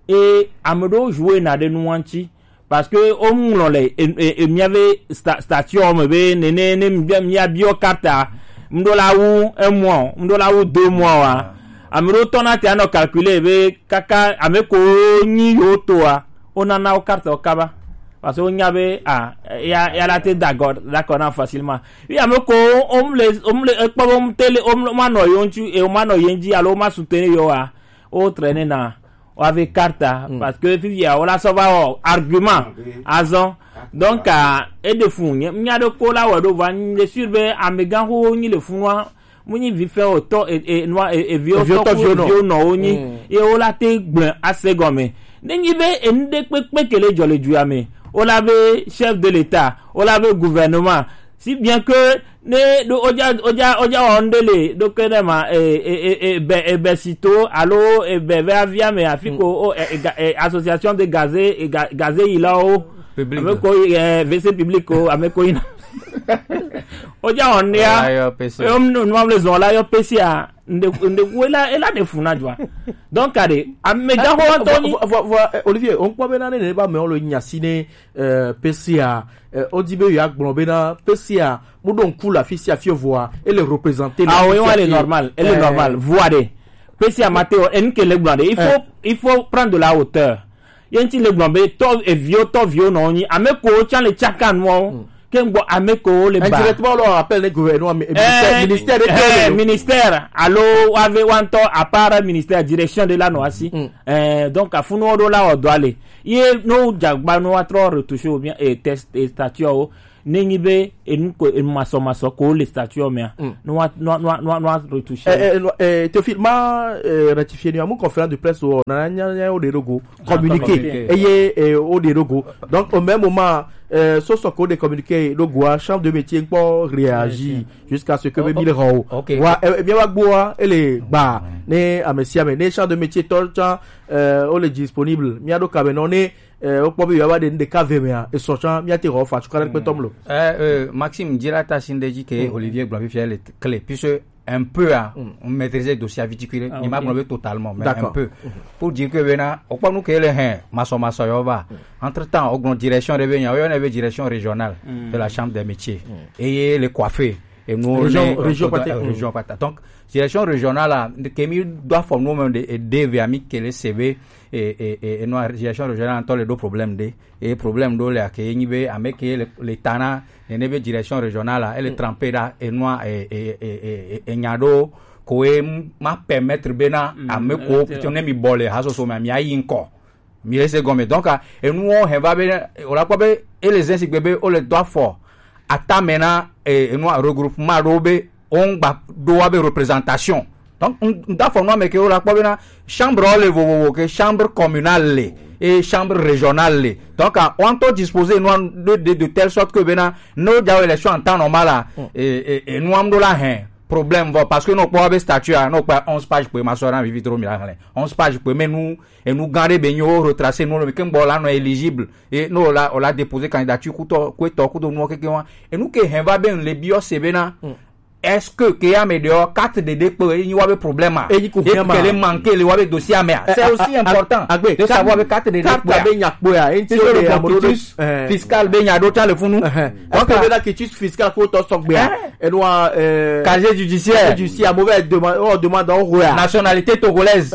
Et ame ɖewo jouer na ɖe nu ŋuti, parce que wo ŋlɔ le e- e- e- miave sta- statut me be nene ne mia- miabiɔ carte a, ŋɖo la wu un mois o, ŋɖo la wu deux mois wa. Ame ɖewo tɔ na te anɔ calculer be kaka ame ko nyi yewo toa, wonana wo carte wo kaba. Parce que wonya be, ah, ya ya la te d'accord d'accord na facilement. Wi ame ko wom le wom le ekpɔ be wom te le wom ma nɔ yewo ŋuti e woma nɔ ye ŋuti alo woma soutenir yewo a, wo traîner na woave carte a, parce que fifia wola sɔ va wɔ argument azɔ. Donc, ah, eɖe fu nye nya ɖe ko la wɔ ɖo va nye sûr be amegã xoxo nyi le funua. Mu nyi vi fɛ o tɔ e e nua e e viwo Eviwo tɔ tɔ viwo nɔ. Viwo nɔ wo nyi. Ye wola te gblẽ ase gɔme. Ne nyi be enu ɖe kpekpe ke le dzɔ le dua me, wola be chef de l'état, wola be gouvernement, si bien que ne ɖo oja oja oja wɔ ŋɖe le ɖo ke ne ma e e e e be e be sito alo e be ve avia me afi ko o e e ga- e association de gazé e ga- gazé yi la o. Public. Ame ko e V C public o ame ko yina. Oja wɔ ŋɖea. Ola yɔ P C. Eyɔm no no amle zɔn la yɔ P C a. Nde nde wo la ela de funa jua. Donc kade ame ja ho to ni. Vɔ vɔ vɔ eh, Olivier, on kpɔ be na ne ne ba me o lo nya si ne euh, P C A, euh, o di be ya gblɔ be na P C A mu ɖo ŋku la fi si afi voa, ele représenter. Ah oui, elle est normale, elle est normale. Voa de P C A Mateo en ke le gblɔ de. Il faut il faut prendre de la hauteur. Ye ŋti le gblɔ be tɔ eviwo tɔviwo nɔ nyi ame ko tsa le tsaka nuwo. Ke ŋgbɔ ame ko le ba. Indirectement, on leur appelle le gouvernement, mi- ministère, eh, ministère de eh, quel ministère alo wave wantɔ à part ministère direction de la noasi. Eh, donc afunu wo ɖo la wɔ dɔ ale ye no jagba no atrɔ retoucher ou bien eh, test eh, statut o ne nyi be enu ko enu masɔ masɔ ko le statut o mea no wa no wa no wa no wa retoucher. Eh, eh, no, eh, Théophile, ma eh, rectifier ni amu conférence de presse o na nya nya o de rogo communiqué. Communiqué. Eye eh, o de rogo. Donc au même moment euh, so so ko de communiqué rogo a chambre de métier nkpɔ réagit jusqu'à ce que be mi le ho. Ok. Wa eh, mi wa gbo a ele gba ne amesiame ne chambre de métier tɔ tsa euh, o le disponible. Mi ado kabe no ne eh, o kpɔ be yo wa de nde ka ve mea e so tsa mi ate ho fa tu kala pe tomlo. Eh, euh, Maxime, dira ta sinde ji ke Olivier gblɔ fifia le clé puisque un peu à maîtriser dossier viticule. Ah, ni ma ok. Gblɔ be totalement mais un peu pour dire que bena o kpɔ nu ke le hein maso maso yo va. Entre temps o gblɔ direction de benya o yo ne be direction régionale de la chambre des métiers et le coiffé et nous région région pata donc direction régionale la ke mi doit former même de de ami ke le C V et et et non direction régionale en le do problème de et problème do le ke ni be ame ke le tana ne ne be direction régionale la elle est trempée là et noir et et et et nya do ko e ma permettre bena ame ko ne mi bole ha so so mi ayi nko mi le se gome donc et nous on va be o la ko be et les ainsi be o le doit fort atamena et noir regroupement do be on gba do wa be représentation. Donc n da fɔ nua me ke o la kpɔ bena chambre le vovovo ke chambre communale le et chambre régionale le. Donc on to disposer nua de de de telle sorte que bena no ja élection en temps normal la et et et nua do la hein problème vo parce que no kpɔ be statut a no kpɔ onze pages pe ma so na vivi trop mi la hein onze pages pe mais nous et nous garder be nyo retracer nous le ke ngbo la no éligible et no la on la déposer candidature kuto kuto kuto no ke ke wa et nous ke hein va ben le bio se bena est-ce que ke ya me de carte de dépôt e nyi wa be problème a e nyi ko e ke le manquer le wa be dossier a me a c'est aussi important de savoir be carte de dépôt carte be nya kpo ya e nti le processus fiscal be nya do tan le funu donc be na quitus fiscal ko to so gbe a e no euh casier judiciaire judiciaire mauvais demande on demande on roya nationalité togolaise.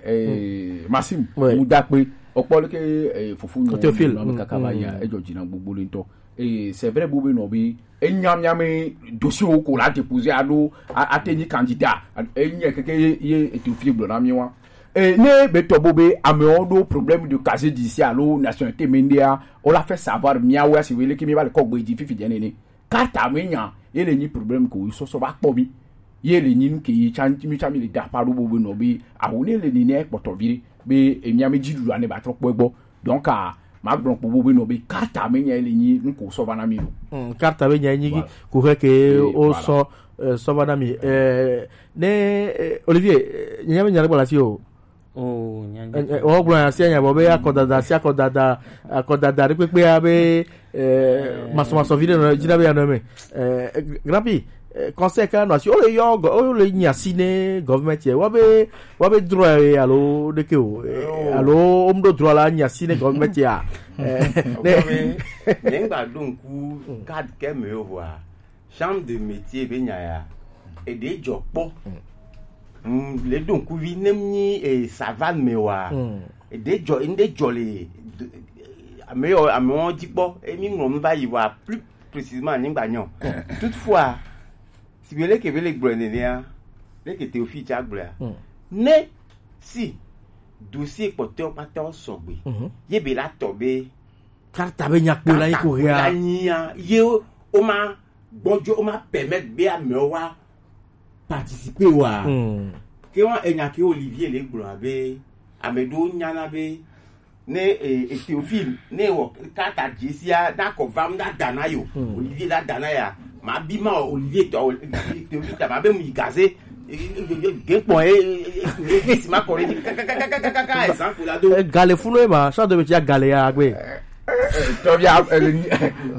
Eh, Maxime, mu da pe opolo ke fufu no Théophile kaka ba ya e jo jina gbogbo le nto. Et c'est vrai, bobe no bi enyamiame dossier wo ko la déposer alo atenyi candidat enye keke ye eto fi gblɔ na mi wa. Et ne be to bobe amewo do problème de casier judiciaire alo nationalité mendia, on l'a fait savoir miawe si wele ki mi ba le kɔgbe di fifi jene ni carte amenya ele ni problème ko so so ba kpɔ mi. Ye le nyi nu ke yi tsa mi tsa mi le da pa ɖo bo be nɔ be awu ne le ni ne kpɔtɔ vi ɖe be emia me dzi ɖuɖu ane ba trɔ kpɔ egbɔ. Donc a ma gblɔ kpo bo be nɔ be karta me nya le nyi nu ko sɔ va na mi ɖo. Hmm, karta be nya nyi. Voilà. Ko he ke. Eh, o voilà. Sɔ, eh, sɔ va na mi. Eh, ne, eh, Olivier, eh, nya me nya le gbɔ la si o. Oh, nya nya. Eh, eh, o gblɔ ya si nya bo be akɔdada si akɔdada akɔdada ɖe kpekpe ya be eh, masɔmasɔ vi ɖe nɔ dzi na be anɔ eme. Eh, Grand Prix, eh, conseil ka nɔ asi, o le yɔ gɔ, o le nyi asi ne government ye, wa be, wa be droit ye alo ɖeke o, eh, alo o mu ɖo droit la nyi asi ne government ya. Eh, ne. Nye ŋgba ɖo ŋku card ke me yo vɔa, chambre de métier be nya ya, eɖe dzɔ kpɔ. Mm, le ɖo ŋkuvi ne mi, eh, savane me wa. Mm. Ɖe dzɔ, ŋɖe dzɔ le d-, ame yɔ, ame wɔn dzi kpɔ, emi ŋlɔ nu va yi wa plus précisément anyigba nyɔ. Toutefois, si be leke be le gblɔ nenea, leke Théophile tsa gblɔa. Hmm. Ne si dossier kpɔtɔ kpata sɔgbe, mhm, ye be la tɔ be karta be nyakpo la yi ko hea. Nyia, ye o, o ma gbɔdzo, o ma permettre be amewo wa participer wa. Hmm. Ke wa enya ke Olivier le gblɔ abe ame ɖewo nyana be ne, e, e, Théophile, ne wɔ kata dzesia, na kɔ vam na dana yo. Hmm. Olivier la dana ya. Ma bi ma Olivier tɔ, Théophile ta ma be mu yi gaze. E, e, e, e, ge kpɔ, e, e, e, e, e, si ma kɔ ɖe dzi. Kaka, kaka, kaka, kaka, exemple la do. E, gale funu ema, sa do be tia gale ya gbe. Tɔbia, e,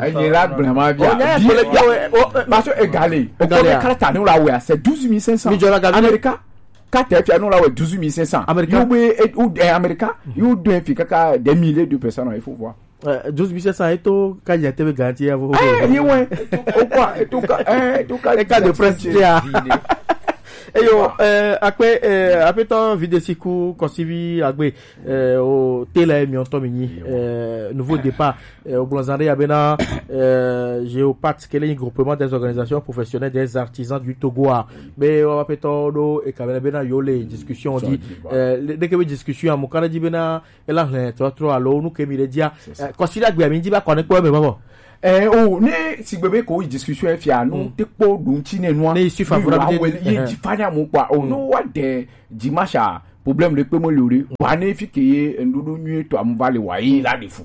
e, la gblẽ ma bia. Oh, nya ya kpele bia, o, e, parce que egale. Egale ya. Karata ne la wɛ, c'est douze mille cinq cents. Mi jɔ la gale. Amerika. Carte fia no la wɛ douze mille cinq cents. Amerika. Yo be, e, ou, eh, Amerika, yo do fi kaka des milliers de personnes, il faut voir. Euh, douze mille cinq cents, et tout, quand il y a T V garanti, il y a vous. Eh, ni ouais. Au quoi, et tout, eh, et tout, e ka de presse ya. Eyo, euh, akpe, euh, apetɔ Videsiku Kɔsivi Agbe, euh, o tela emi ɔtɔ mi nyi, euh, nouveau départ, euh, o gblɔ zan ɖe ya bena, euh, Géopat, ke le nyi groupement des organisations professionnelles des artisans du Togo a. Be wa apetɔ ɖo e ka bena, bena yo le discussion di, euh, le, ɖeke be discussion a mo kana di bena, ela hlẽ trɔtrɔ alo nu ke mi ɖe dzia. C'est ça. Eh, kɔsi ɖe agbea mi dzi va kɔ ne kpɔ eme bɔbɔ. Eh, o, ne sigbe be ko yi discussion efia, nu te kpɔ ɖo ŋuti ne nua. Ne yi suivre favorable. Yi di fanya mo kpɔ. O, no wa de dimasha, problème ɖe kpe mo le o ɖe. Wa ne fi ke ye, ŋɖoɖo nyui tɔ amu va le wa ye la de fu.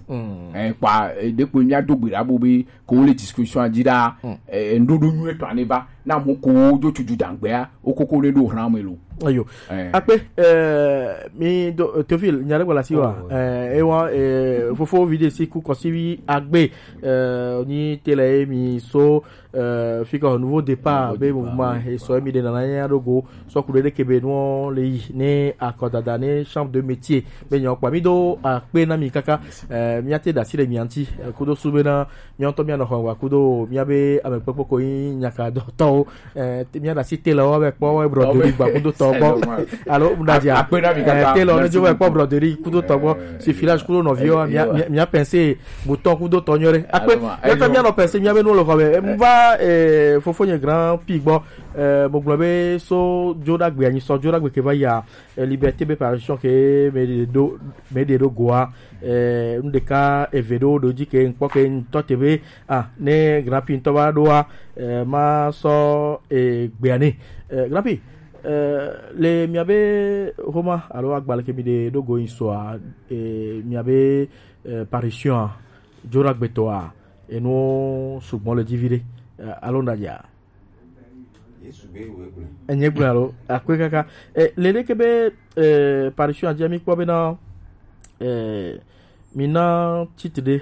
Eh, kpa, eh, ɖe kpe mia do gbe ɖa bo be, ko le discussion a dzi ɖa, eh, ŋɖoɖo nyui tɔ ane va. Na mo ko jo tu ju dangbea, o koko ne ɖo hran me lo. Ayo. Eh. Akpe, eh, mi do, eh, Théophile, nya ɖe gbɔ la si wa. Oh, ouais. Eh, e wa, eh, fofo Videsiku Kɔsivi Agbe, eh, ni tele mi so, eh, fika nouveau départ, nouveau be départ, mouvement, ouais, e so mi de na na nya ɖo go, so ku ɖe ɖeke be no le yi, ne akɔdada, ne chambre de métier, be nyɔ kpa mi do akpe na mi kaka, eh, mi ate da si le mi anti, eh, kudo su be na, Míawo ŋutɔ míanɔ xɔ wa kudo míabe amekpekpe ko yi nyaka dɔtɔwo. Eh, te-, míaɖe asi telɔ wo be kpɔ wo broderie gba kudo tɔ gbɔ. Alo, mu ɖe dzi a? Akpe na mi kaka. Eh, telɔ ne dzo be kpɔ broderie kudo tɔ gbɔ. Eh, si filage kudo nɔviwo, eh, mía, mía, mía pensé butɔ kudo tɔ nyɔ ɖe. Akpe, alo ma, mía tɔ ayo. Míanɔ pensé míabe nu le xɔ me. Eh, mu va, eh, fofonye grand pi gbɔ. Eh, mo gblɔ be so dzo ɖagbe anyi sɔ dzo ɖagbe ke va yi a. Eh, Liberté be parution ke me ɖe ɖo, me ɖe ɖo goa, eh, nu ɖeka eve ɖewo ɖo dzi ke ŋkpɔ ke ŋtɔ te be, ah, ne Grand Prix ŋtɔ va ɖoa, eh, ma sɔ, eh, gbea nɛ. Eh, Grand Prix, eh, le miabe homa alo agbalẽ ke mi ɖe ɖo go ŋsɔa, eh, miabe, eh, parution a, dzo ɖagbe tɔa, enu sugbɔ le dzi vi ɖe, eh, alo na dza? Yesu be wo egblẽ. Enye gblẽ alo akpe kaka. Eh, le ɖeke be, eh, parution a dzi mi kpɔ be na, eh, mi na titre ɖe,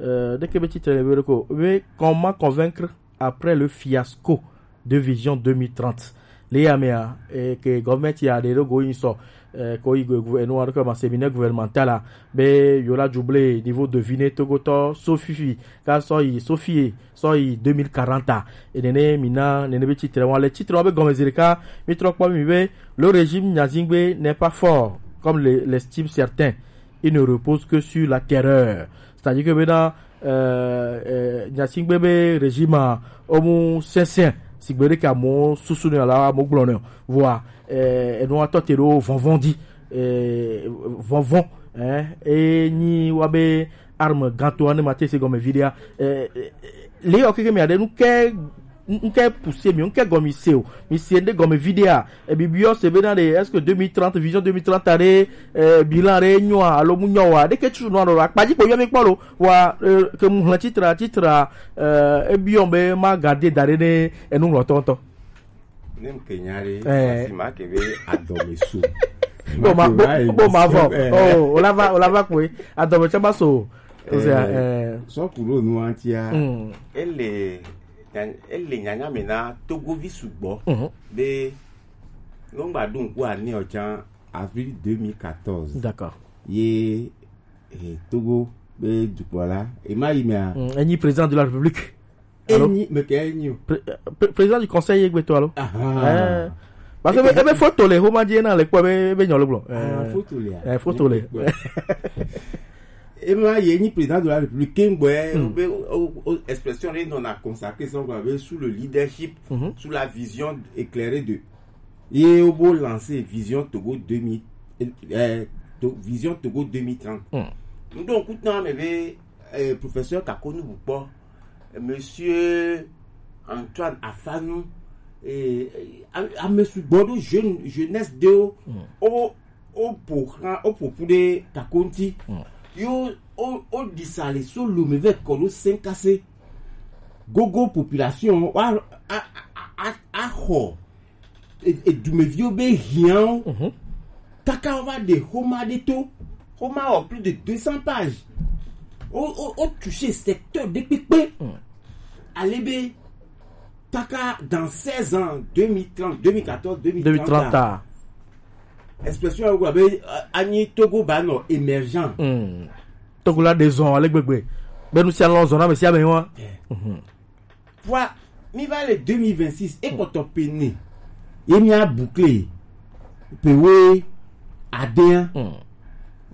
eh, ɖeke be titre le be ɖeko be comment convaincre après le fiasco de Vision deux mille trente. Le ya mea, eh, ke government ya ɖe ɖo go yin sɔ, eh, ko yi go, go, enu aɖe ke ma séminaire gouvernemental a, be yo la juble niveau de vie ne togotɔ so fifi, ka sɔ yi so fie, sɔ yi deux mille quarante a. E nene mi na, nene be titre wa le titre wa be gɔmezire ka, mi trɔ kpɔ mi be, le régime Nyazingbe n'est pas fort, comme le, l'estiment certains. Il ne repose que sur la terreur. C'est-à-dire que maintenant, euh, euh, Nyazingbe be régime a, omu sɛnsɛn, sigbe ɖe ka mo susu ne ala mo gblɔ ne. Voilà. Euh, et nous attendons vɔvɔn di, euh, vɔvɔn, hein, et ni wa be arme ganto ane mate se gɔme vidéa, euh, euh, le yo keke mi aɖe nu ke N-, nke pousser mi, nke gɔmi se o. Mi se nde gɔmi vidéo. E bi biɔ se be na de, est-ce que deux mille trente, vision deux mille trente aɖe, eh, bilan aɖe nyoa, alo mu nyoa, ɖeke tu no alo akpadzi ko yɔ mi kpɔ lo. Wa, eh, ke mu hlẽ titre, titre, eh, e biɔ be ma garder da ɖe ne enu ŋlɔtɔ ŋutɔ. Ne nke nya ɖe, eh, si ma ke be adɔme so. Bo ma, bo, bo ma vɔ. Eh. Oh, o la va, o la va kwe. Adɔme tsa ba so. O se, eh, eh, sɔ ku ɖo nu antia. Mm. Ele Nya-, ele nyanya me na Togovi sugbɔ, mhm, be nɔgba ɖo ŋku ane ɔ tsã avril deux mille quatorze. D'accord. Ye, eh, Togo be dukplɔla, e ma yi mea? Mm, enyi président de la République. Alo? Enyi, me ke enyi o. Pré-, pré-, président du conseil ye gbeto alo? Aha. Eh. Parce que ebe, ebe photo le homa je na le kpɔ be, be nyɔ le gblɔ. Ah, eh, photo le a? Eh, photo le. Ema ye nyi président de la République kengbe, hmm, be o, o, expression ɖe nɔna consacré sɔn gba be sous le leadership, mhm, sous la vision éclairée de, ye o bo lancer vision Togo deux mille, euh, to, vision Togo deux mille trente. Hmm. Donc, kutan me be, euh, professeur Kakonu Bukpo, monsieur Antoine Afanu, eh, a, ame sugbɔ ɖo jeune, jeunesse de o, hmm, o, o ƒo xlã, o ƒo ƒu ɖe Kakonu ŋuti. Hmm. Yo, o, o ɖi sa le so lome vɛ kɔ ɖo Sɛnkase. Gogo population, wa, a, a, a, a, axɔ e, edumeviwo be hiãwo. Mhm. Kaka wova ɖe xoma ɖe to. Xoma wɔ plus de deux cents pages. O, o, o toucher secteur ɖe kpekpe. Mm. Ale be, kaka dans seize ans, deux mille trente, deux mille quatorze, deux mille trente, deux mille trente a, expression ya wogblɔ be, euh, anyi Togo ba nɔ émergent. Mm. Togo la ɖe zɔn ale gbegbe. Be nu sia lɔ zɔn na ame sia ame wa. Yeah. Mhm. Vɔa, mi va le deux mille vingt-six, e kpɔtɔ pe ne. Ye mi a boucler pe we adea. Mm.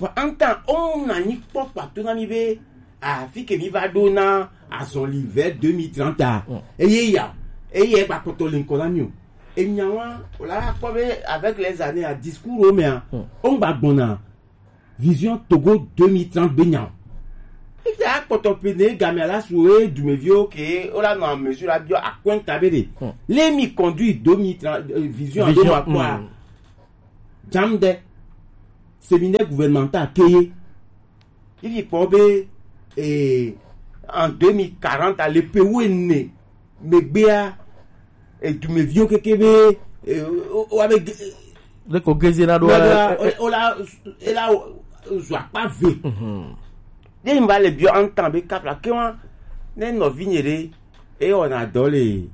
Vɔa, en temps, o na nyi kpɔ kpato na mi be, afi ke mi va ɖo na azɔli vers deux mille trente a. Mm. Eye ya, eye gba kpɔtɔ le ŋkɔ na mi o. Enya wa, o la kpɔ be avec les années, a discours o mea, mm, o ŋgba gbɔna. Vision Togo deux mille trente be nya o. Ete akpɔtɔ pe ne game ala su e dumeviwo ke o la nɔ ame su la biɔ akɔnta be de. Hmm. Let me conduire deux mille trente, euh, vision alo ma kpɔa. Hmm. Jam de. Séminaire gouvernemental ke ye. Ifi kpɔ be, eh, en deux mille quarante, le pe wo ne megbea, e, dumeviwo keke be, e, o, o, wa be ge-, ne ko geze na ɖo na ɖo, e, e, o la, e la, o, zu akpa ve. Mhm. Ye mi va le biɔ en temps be kafla ke wa, ne nɔvi nye ɖe, e wɔna dɔ le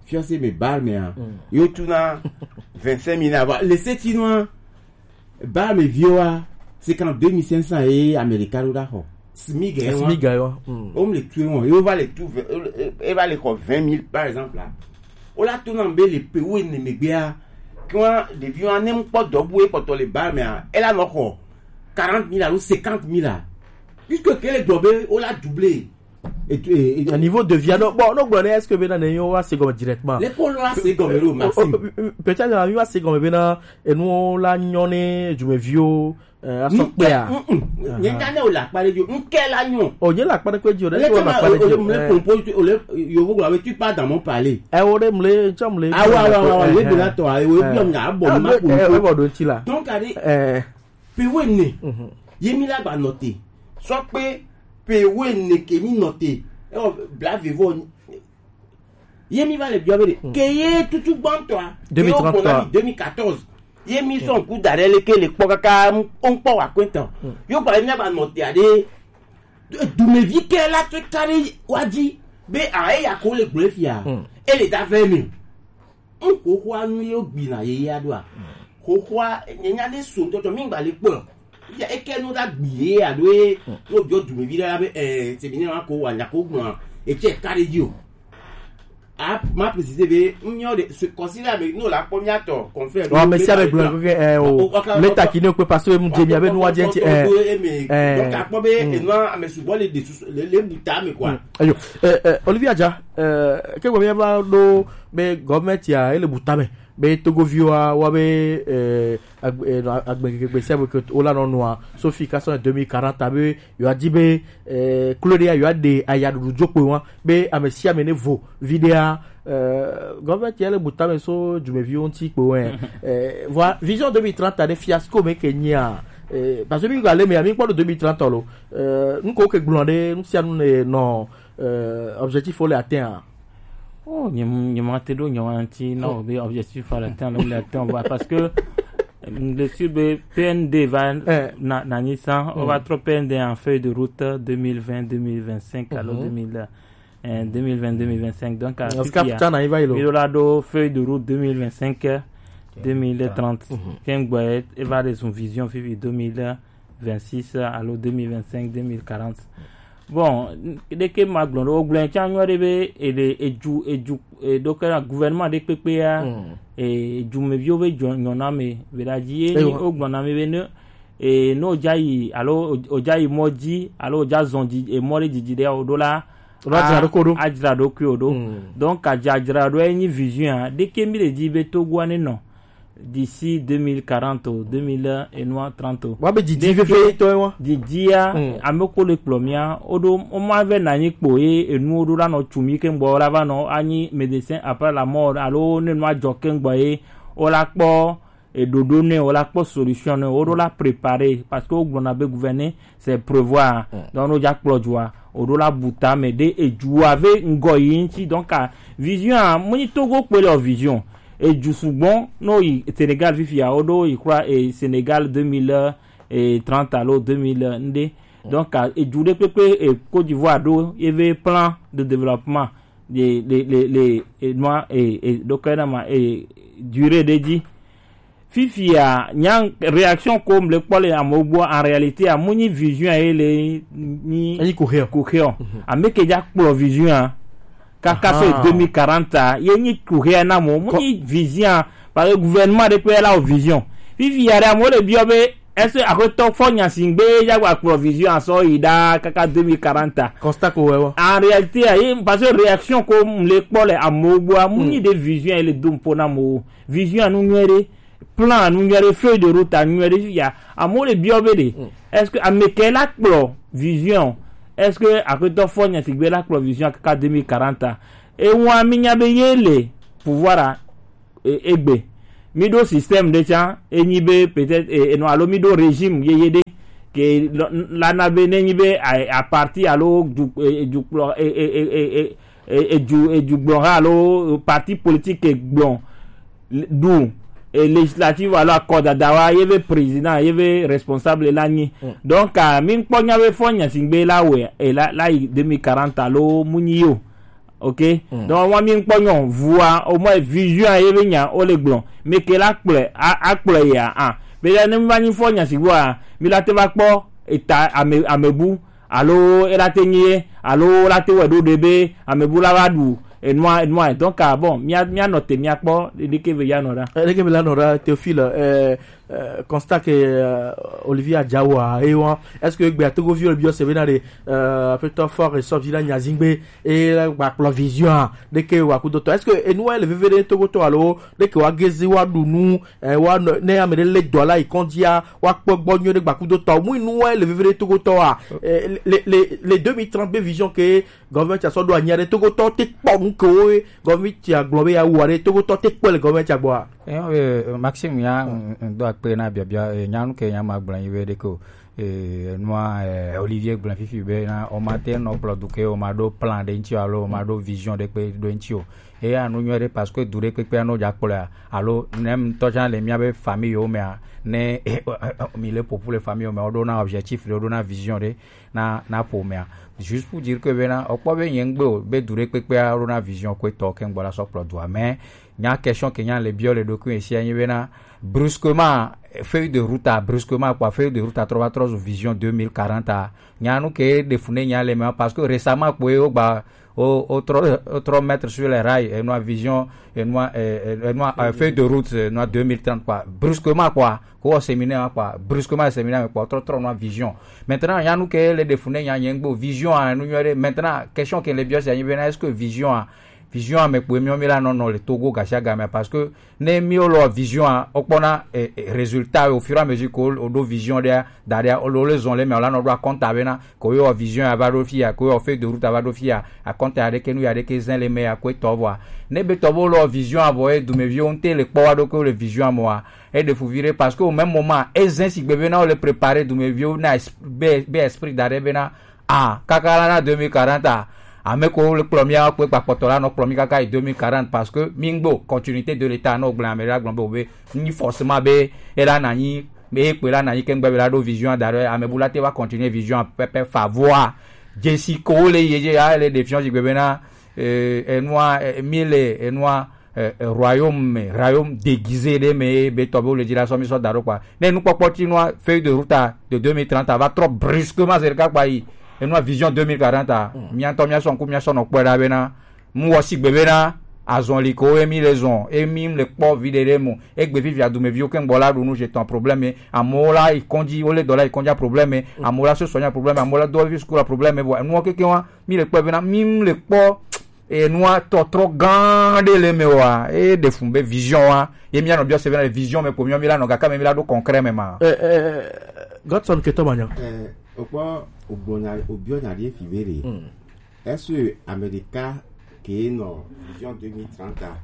fiɔse me bar mea, mm, yo tu na vingt-cinq mille ava. Le se ti nua, ba me viwo wa, c'est qu'en deux mille cinq cents ye Amerika ɖo ɖa xɔ. Smig ye wa. Smig ye wa. Mm. O me le tu wɔn, yo va le tu ve-, e, e, e va le xɔ vingt mille, par exemple, là. O la to na be le pe wo ne megbea, quand ɖevi wa ne ŋkpɔ dɔ bu e kpɔtɔ le ba mea, e la nɔ xɔ quarante mille alo cinquante mille la. Puisque ke le gbɔ be o la doubler. Et, et, et, à niveau de vie, non, bon, non, bon, est-ce que maintenant, on va se comme directement? L'école là, c'est comme le Maxime. Oh, oh, oh, peut-être, là, on va se comme maintenant, et nous, on l'a, on est, je me vieux, euh, à son père. Mm, mm. Aha. Nye nya ne o la kpa ɖe dzi o, ŋke la nyo. Oh, nye la kpa ɖe kpe dzi o, ɖe le o la kpa ɖe dzi o. Le pompo, o le, yo, vous avez, tu pars dans mon palais. Eh, o ɖe mle, tsɔ mle. Ah, ouais, ouais, ouais, ouais, eh, le de la toi, eh, o, eh, bi nya, bon, ah, ma, eh, eh, bon, do ti la. Donc, allez, eh. Pe wo ene. Mhm. Ye mi la gba nɔte. Sɔ pe pe wo ene ke mi nɔte. E wɔ bla vevo. Ye mi va le biɔ be de. Mhm. Ke ye tutu gbɔntɔa. Deux mille trente-trois. Ye wo gbɔna mi deux mille quatorze. Ye mi sɔn ku da ɖe le ke le kpɔ kaka ŋkpɔ wa kɔntɔn. Mhm. Yo gba ye mi gba nɔte aɖe. Dumevi ke la tso ka ɖe wa dzi. Be a eya ko le gblɔ fia. Mhm. E le da vɛ mi. Ŋ xoxoa nu yewo gbina yeyea ɖoa? Xoxoa, nye nya ɖe so ŋutɔtɔ, mi ŋgba le kpɔe o. Fifia eke nu ɖa gbi yeyea ɖo ye, ne wobiɔ dumevi ɖe la be, eh, c'est bien, wa ko wa nya ko gblɔa, etsɛ ka ɖe dzi o. A, ma préciser be, ŋ nyɔ ɖe, ce, considérer ame, ne wòle akpɔ mía tɔ, confrère, ɔ, ame sia ame gblɔ, eh, o, o, o, le taki ne o kpe parce que mu dze mia be nu wa dze ŋti, eh, eh. Donc, akpɔ be, mm, enua, ame sugbɔ le de susu, le, le bu ta me, quoi. Mm. Ayo, eh, eh, Olivier Adja, eh, ke gbe mia va ɖo be gɔvmɛnti a, ele bu tame be Togoviwo a, wa be, eh, agbe-, eh, nɔ, agbe keke gbe sia gbe ke wo la nɔ nua, so fi ka sɔ deux mille quarante a be, yewoa di be, eh, klo ɖe ya, yewoa ɖe ayaɖuɖu dzokpe wa, be ame sia ame ne vo vi ɖe a, Euh, gɔvɛti ele butame so dumeviwo ŋuti kpo wɛ. Euh, voilà, vision deux mille trente a de fiasco me ke nyia. Euh, parce que mi gba le me, mi kpɔ do deux mille trente lo. Euh, nu ko ke gblɔ de, nu sia nu ne nɔ, euh, objectif o le atteint a. Oh, nyem-, nyemate ɖo nyawo ŋuti na o be objectif a le atteint lo le atteint o, parce que, euh, le sur be P N D va Eh. na, na nyi san, o va trɔ P N D en feuille de route deux mille vingt, deux mille vingt-cinq, alors Mhm. deux mille, euh, deux mille vingt, deux mille vingt-cinq. Donc, à Parce que fifia, putain, na, il va, il est mi ɖo la ɖo feuille de route deux mille vingt-cinq, deux mille trente. Mhm. Kengbe, e va de son vision fifi deux mille vingt-six, alo deux mille vingt-cinq, deux mille quarante. Bon, n-, ɖeke ma gblɔ ɖo, gblɔ tsa nyɔ ɖe be, e ɖe, eju, eju, e ɖo ke na gouvernement ɖe kpekpe ya, Mm. e, eju me viwo be jɔ, nyɔ na me, ve la dzi ye, Ewa. O gblɔ na me be ne, e, ne o dza yi, alo o, o dza yi mɔ dzi, alo o dza zɔn dzi, e, mɔ ɖe didi ɖe o ɖo la, O ɖo a dzra ɖo ko ɖo. A dzra ɖokui o ɖo. Mm. Donc, a dza dzra ɖo e nyi vision a, ɖeke mi ɖe dzi be Togo a ne nɔ. D'ici deux mille quarante o, deux mille et noir trente o. Wa be didi Ɖeke fefe tɔ wa. Didia, Mm. ame ko le kplɔ mia, o ɖo, o ma ve na nyi kpo ye, enu o ɖo la nɔ tsu mi ke ŋgbɔ, o la va nɔ, anyi médecin après la mort, alo ne nu a dzɔ ke ŋgbɔ ye, o la kpɔ, e ɖoɖo ne, o la kpɔ solution ne, o ɖo la préparer, parce que o gblɔ na be gouverner, c'est prévoir. Mm. Donc, no dza kplɔ dua, o ɖo la buta me ɖe eju a ve ŋgɔ yi ŋuti. Donc, a, vision a, mo nyi Togo kpe le o vision. Eju sugbɔ, no yi Sénégal fifia, o ɖo yi kura, e, Sénégal deux mille trente alo deux mille un ɖe. Donc, a, eju ɖe kpekpe, e, Côte d'Ivoire ɖo, ye ve plan de développement, le, le, le, le, e, noa, e, e, ɖo ke na ma, e, durée ɖe dzi. Fifia, nya réaction ko mle kpɔ le amewo gbɔ, en réalité, a, mu nyi vision ye le nyi Eyi ko heo. Ko heo. Mhm. Ame ke dza kplɔ vision a, kaka so Aha. deux mille quarante a, ye nyi ko heo na mo, mu Ko- nyi vision a, parce que gouvernement ɖe kpe la o vision. Fifia ɖe amewo le biɔ be, est-ce que aƒetɔ fɔ nya si gbe ya gba kplɔ vision a sɔ yi ɖa kaka deux mille quarante a? Constat ko wɛ wɔ. En réalité, a, ye, parce que réaction ko mle kpɔ le amewo gbɔ a, mu Mm. nyi ɖe vision ye le do ŋpo na mo. Vision a nu nyuie ɖe. Plan nu nyuie ɖe, feuille de route a nu nyuie ɖe, ya, amewo le biɔ be ɖe, Mm. est-ce que ame ke la kplɔ vision? Est-ce que aƒetɔ fɔ nya si gbe la kplɔ vision kaka deux mille quarante a? Ewa mi nya be ye le pouvoir a, e, egbe. Mi ɖo système ɖe tsa, e nyi be peut-être, e, e, non, alo mi ɖo régime yeye ɖe, ke lɔ-, la na be ne nyi be a, a parti alo du, e, e, dukplɔ, e, e, e, e, e, e, edu, edugblɔha alo parti politique gblɔ ɖu, e, législative alo akɔdada wa, ye be président, ye be responsable la nyi. Mm. Donc, a, mi kpɔ nya be fɔ nya si gbe la wɛ, e, la, la yi deux mille quarante alo mu nyi yo. Ok? Mm. Donc, wa mi kpɔ nyɔ, vua, au moins vision ye be nya, o le gblɔ. Mi ke la kplɔe, a, a kplɔe ya, a. Be ya ne mi va nyi fɔ nya si gbe wa, mi la te va kpɔ eta ame, amebu. Alo ela te nyi ye, alo la te wɛ ɖo ɖe be amebu la va ɖu enua, enua. Donc, ah, bon, mia, mia nɔ te, mia kpɔ ɖeke be ya nɔ ɖa. Eh, ɖeke be la nɔ ɖa, Théophile, eh, eh, constat ke, eh, Olivier Adjawa, e wa, est-ce que gbe atogo viol bio se bena de, eh, aƒetɔ fort et sort vina nyazingbe, e la gba kplɔ vision a, ɖeke wa kudo tɔ? Est-ce que enua le veve de togo tɔ alo ɖeke wa gezi wa ɖu nu, eh, wa nɔ, ne ame ɖe le dɔ la yi kɔndzia, wa kpɔ gbɔ nyuie ɖe gbakudo tɔ. Mu nu wa le veve ɖe togo tɔ wa. Eh, le, le, le deux mille trente be vision ke gɔvɛnti a sɔ ɖo anyi ɖe togo tɔ te kpɔ nu ke wo gɔvɛnti a gblɔ be ya wa ɖe togo tɔ te kpɔ le gɔvɛnti a gbɔ a. Eh, eh, Maxime ya, mm, mm, do akpe na biabia, eh, nyanu ke nya ma gblɔ yi be ɖeke o. Eh, nua, eh, Olivier gblɔ fifi be na o ma te nɔ kplɔ du ke o ma ɖo plan ɖe ŋuti alo o ma ɖo vision ɖe kpe ɖo ŋuti o. Eya nu nyuie ɖe parce que du ɖe kpekpe no dza kplɔa, alo ne ŋutɔ tsã le mía be famille wo mea, ne mi le ƒoƒu le famille wo mea, woɖo na objectif ɖe, woɖo na vision ɖe na, na ƒomea. Juste pour dire que bena, okpɔ be nye ŋgbe o, be du ɖe kpekpea woɖo na vision ko etɔ ke ŋgbɔ la sɔ kplɔ dua. Mais nya question ke nya le biɔ le ɖokui sia nyi bena, brusquement, feuille de route a, brusquement quoi, feuille de route a trɔ va trɔ zu vision deux mille quarante a. Nya nu ke ɖe fu ne nya le mea, parce que récemment kpoe wogba o, o trɔ, o trɔ mettre sur les rails, enua vision, enua, eh, eh, enua, eh, feuille de route, enua deux mille trente quoi. Brusquement quoi, ko séminaire quoi, brusquement séminaire quoi, trɔ, trɔ nua vision. Maintenant, nya nu ke le ɖe fu ne nya nye ŋgbe o, vision a nu nyuie ɖe. Maintenant, question ke le biɔ sia nyi bena, est-ce que vision a Vision ame kpoe miɔ mi la nɔ nɔ le Togo gasiagamea, parce que ne mi wo lɔ vision a, o kpɔna eh, eh, résultat au fur et à mesure que o ɖo vision ɖea da ɖea o le zɔn le mɛ o la nɔ ɖo akɔnta bena ko yɔ vision a va ɖo fi ya, ko yɔ feuille de route a va ɖo fi ya, akɔnta ya ɖeke nu ya ɖeke zɛn le mɛ ya ko etɔ vɔa. Ne be tɔ bo lɔ vision a vɔ ye dumeviwo ŋte le kpɔ wa ɖo ko le vision a mɔa, e ɖe fu vi ɖe, parce que au même moment e zɛn sigbe bena o le préparer dumeviwo na es- be be esprit da ɖe bena ah kaka la na deux mille quarante a, ame ko le kplɔ mia kpe kpakpɔtɔ la nɔ kplɔ mi kaka yi deux mille quarante, parce que mi ŋgbo continuité de l'état nɔ gblẽ ame la gblɔ be o be ni forcément be e la na nyi be e kpe la na nyi ke ŋgbe be la ɖo vision da ɖo ame bu la te va continuer vision pɛpɛ fa voa jesi ko wo le ye je ya le défiance gbe bena eh, enua eh, mi le enua eh, eh, royaume me, royaume déguisé ɖe me ye be tɔ be wo le dzi la sɔ mi sɔ da ɖo kpa. Ne nukpɔkpɔ ti nua feuille de route a de deux mille trente a va trɔ brusquement zerika kpa yi. Enua vision deux mille quarante a. Mia ŋutɔ mia sɔ ŋku mia sɔ nɔ kpɔe ɖa bena mu wɔ sigbe bena azɔli ko emi le zɔn emi le kpɔ vi ɖe ɖe mu egbe vivi adumeviwo ke ŋgbɔ la ɖu nu je tɔn problème amewo la yi kɔndzi wo le dɔ la yi kɔndzi a problème amewo la sɔsɔ nya problème amewo la dɔ vi sukulu a problème vɔ enuwo keke wa mi le kpɔ bena mi le kpɔ enua tɔtrɔ gã ɖe le me wa e ɖe fun be vision wa ye mia nɔ biɔ se bena le vision me ko mi mi la nɔ gaka me mi la ɖo concret me ma. Eh, eh, Godson Ketɔ Manya. Eh, okpɔ ogbɔ nya obiɔ nya ɖe fi be ɖe. Est-ce que ame ɖeka ke nɔ vision deux mille trente a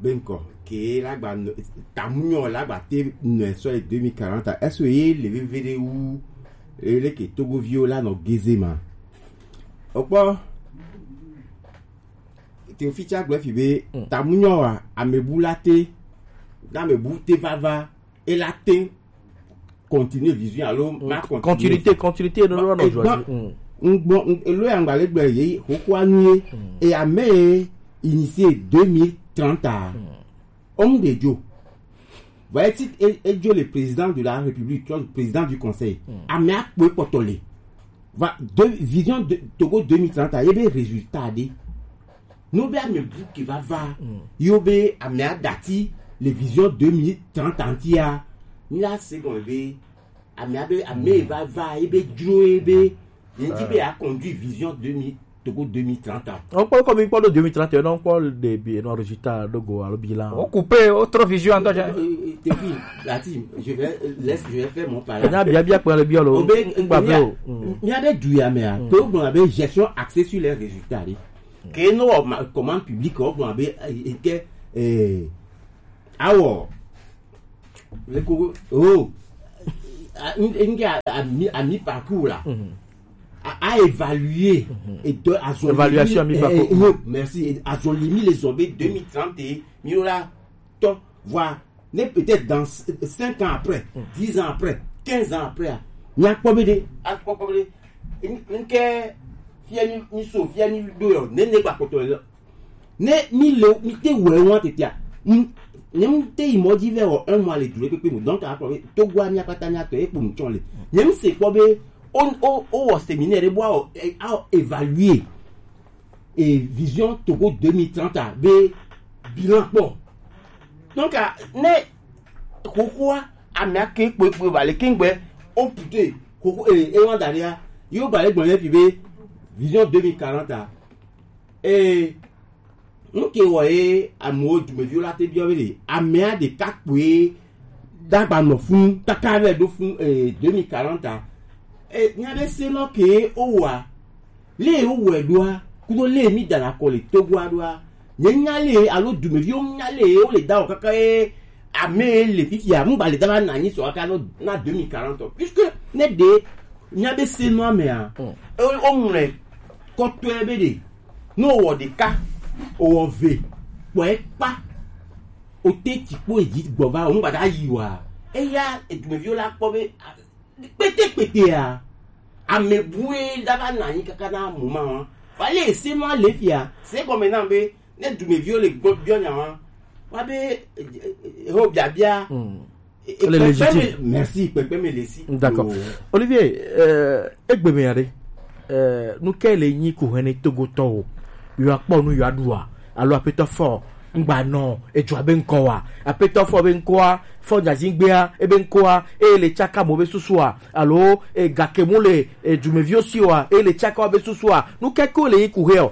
be ŋkɔ ke la gba nɔ- tamunyɔ la gba te nɔ sɔ ye deux mille quarante a est-ce que ye le veve ɖe wu eye leke togoviwo la nɔ geze ma? Okpɔ teofi tsa gblɔ fi be tamunyɔ wa amebu la te na amebu te vava e la te continuer vision alo ma continuer. Continuité, continuité, no no no joie. Ngbɔ elo ya ngba le gbe ye xoxo anu ye e ame ye initié deux mille trente a. Homme de Dieu. Voyez, si e e Dieu le président de la République, tu vois, le président du conseil. Ame akpo kpɔtɔ le. Va de vision de Togo deux mille trente a ye be résultat de. No be ame bu ke va va. Yo be ame adati le vision deux mille trente antia. Ni la se gɔme be ame abe ame va va ebe dzro ebe ye di be a conduit vision deux mille Togo deux mille trente ans. Ɔkpɔ kɔ mi kpɔ ɖo deux mille trente et un nɔ kpɔ ɖe bi nɔ résultat ɖo go alo bilan. O coupe o trop vision ŋutɔ tsɛ. Tefi lati je vais laisse je vais faire mon pala. Nya bia bia kpɛ le biɔ lo. O be ŋgba ve o. Mia be du ya mea to gblɔ be gestion axée sur les résultats ɖi. Ke no wɔ commande publique wɔ gblɔ be ke awɔ Leko oh à mi à mi parcours là à, à évaluer et de à évaluation à mi parcours eh, eh, merci à zolimi les zombies deux mille trente et mille là tant voir ne peut-être dans cinq ans après dix ans après quinze ans après à mi à quoi à quoi une que fier ni so fier ni deux ne ne pas contrôler Ne mi le mi te wɛ wa tetea. Ne mi te yi mɔ dzi vɛ wɔ un mois le du ɖe kpekpe me donc akɔ be Togo a mia kpata mia tɔ ekpo mu tsɔ le. Ne mi se kpɔ be o o o wɔ séminaire bo a o a évaluer e vision Togo deux mille trente a be bilan kpɔ. Donc ne xoxoa ame ake kpekpe va le kengbe o pute xoxo e e wa da ɖea yo ba le gbɔn le fi be vision deux mille quarante a. Ee, nu ke wɔ ye amewo dumeviwo la te biɔ be ɖe amea ɖeka kpoe dagba nɔ funu kaka vɛ ɖo funu ee deux mille quarante a. Ee, nya ɖe se nɔ ke wowɔa, le wowɔe ɖoa, kudo le mi dana kɔ le Togoa ɖoa, nye nya le alo dumeviwo nya le wo le da wɔ kaka ye ame le fifia ŋgba le dana na anyi sɔ kaka na deux mille quarante puisque ne ɖe nya ɖe se nɔ amea, o ŋlɛ kɔtɔe be ɖe ne wowɔ ɖeka wowɔ ve kpɔe kpa o te tsi kpo edzi gbɔ va o ŋgba da yi wa eya edumeviwo la kpɔ be kpetekpetea ame bue da va na anyi kaka na mo ma wa fa le ese ma le fia se gɔme na be ne dumeviwo le gbɔ biɔ nya wa wa be ho biabia. Elle est légitime. Merci, Pepe Melesi. D'accord. Olivier, euh, egbe me yare. Euh, nu ke le nyi ku hene Togo tɔwo. Yo akpɔ nu yo adua. Alo apetɔ fɔ ngba nɔ edua be nkɔ wa. Apetɔ fɔ be nkɔ wa. Fɔ jazi gbea ebe nkɔ wa. E le tsaka mo be susu wa. Alo e gake mu le e dumeviwo si wa. E le tsaka wa be susu wa. Nu ke ko le nyi ku he o.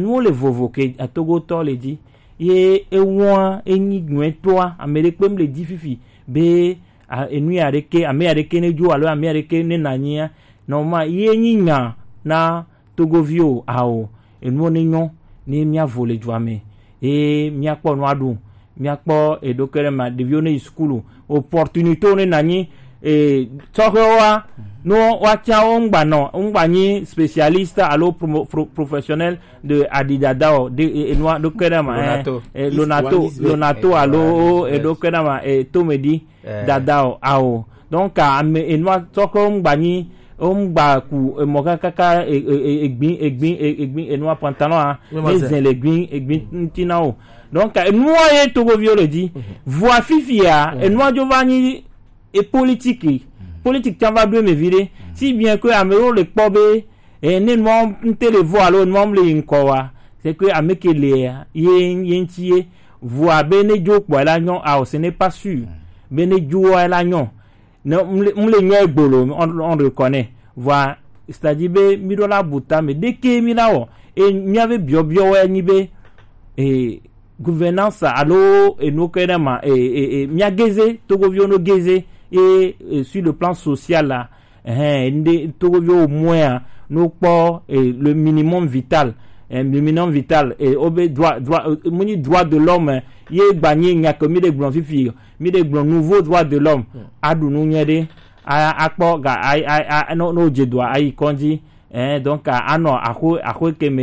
enuwo le vovo ke atogotɔ le dzi. Ye ewɔa enyi nyuietɔa, ame ɖekpe mle dzi fifi be, a, enu ya ɖeke, ame ya ɖeke ne dzo alo ame ya ɖeke ne na nyia, nɔ ma ye nyi nya na togoviwo ao, enuwo ne nyɔ ne mia vo le dua me, ye mia kpɔ nua ɖu, mia kpɔ eɖo ke ɖe ma, ɖeviwo ne yi sukulu, opportunité ne na nyi, e, tsɔxewoa, no wa tia wo ŋgba nɔ, ŋgba nyi spécialiste alo promo-, pro-, professionnel de adidada o, de, e, enua ɖo ke ɖe ma, eh, Lonato. Eh, Lonato, Lonato alo, eh, eɖo ke ɖe ma, eh, tomedi, eh, dada o, ao. Donc, ame enua tsɔxewo ŋgba nyi, wo ŋgba ku emɔ kakaka, e, e, e, egbin, egbin, e, egbin, enua pantalon a, ne zɛn le egbin, egbin ŋuti na o. Donc, enua ye togoviwo le dzi. Vɔa fifia, enua dzo va nyi e politique. Politique tsa va ɖo eme viɖe. Si bien que ame ɖewo le kpɔ be, e, ne nua ŋte le vɔ alo nua le yi ŋkɔ wa, c'est que ame ke le ye, ye ŋti ye. Vɔa be ne dzo kpɔ la nyɔ, ao, ce n'est pas sûr. Be ne dzo wa la nyɔ. Ne mle, mle nyɔ egbolo, on, on reconnaît. Vɔa, c'est-à-dire be mi ɖo la buta me, ɖeke mi la wɔ. E mia be biɔbiɔ wɛ nyi be, e, gouvernance alo enu ke ɖe ma, e, e, e, mia geze, togoviwo no geze, e, e, sur le plan social la, eh, nde togoviwo moya no kpɔ, e, le minimum vital, e, le minimum vital, e, obe droit, droit, e, muni droit de l'homme, ye gba nyi nya ke mi de gblɔ fifi, mi de gblɔ nouveau droit de l'homme, aɖu nu nyuie ɖe, a, akpɔ ga, a, a, a, no, no dze doa, ayi kɔndzi, eh, donc, a, anɔ axo, axo ke me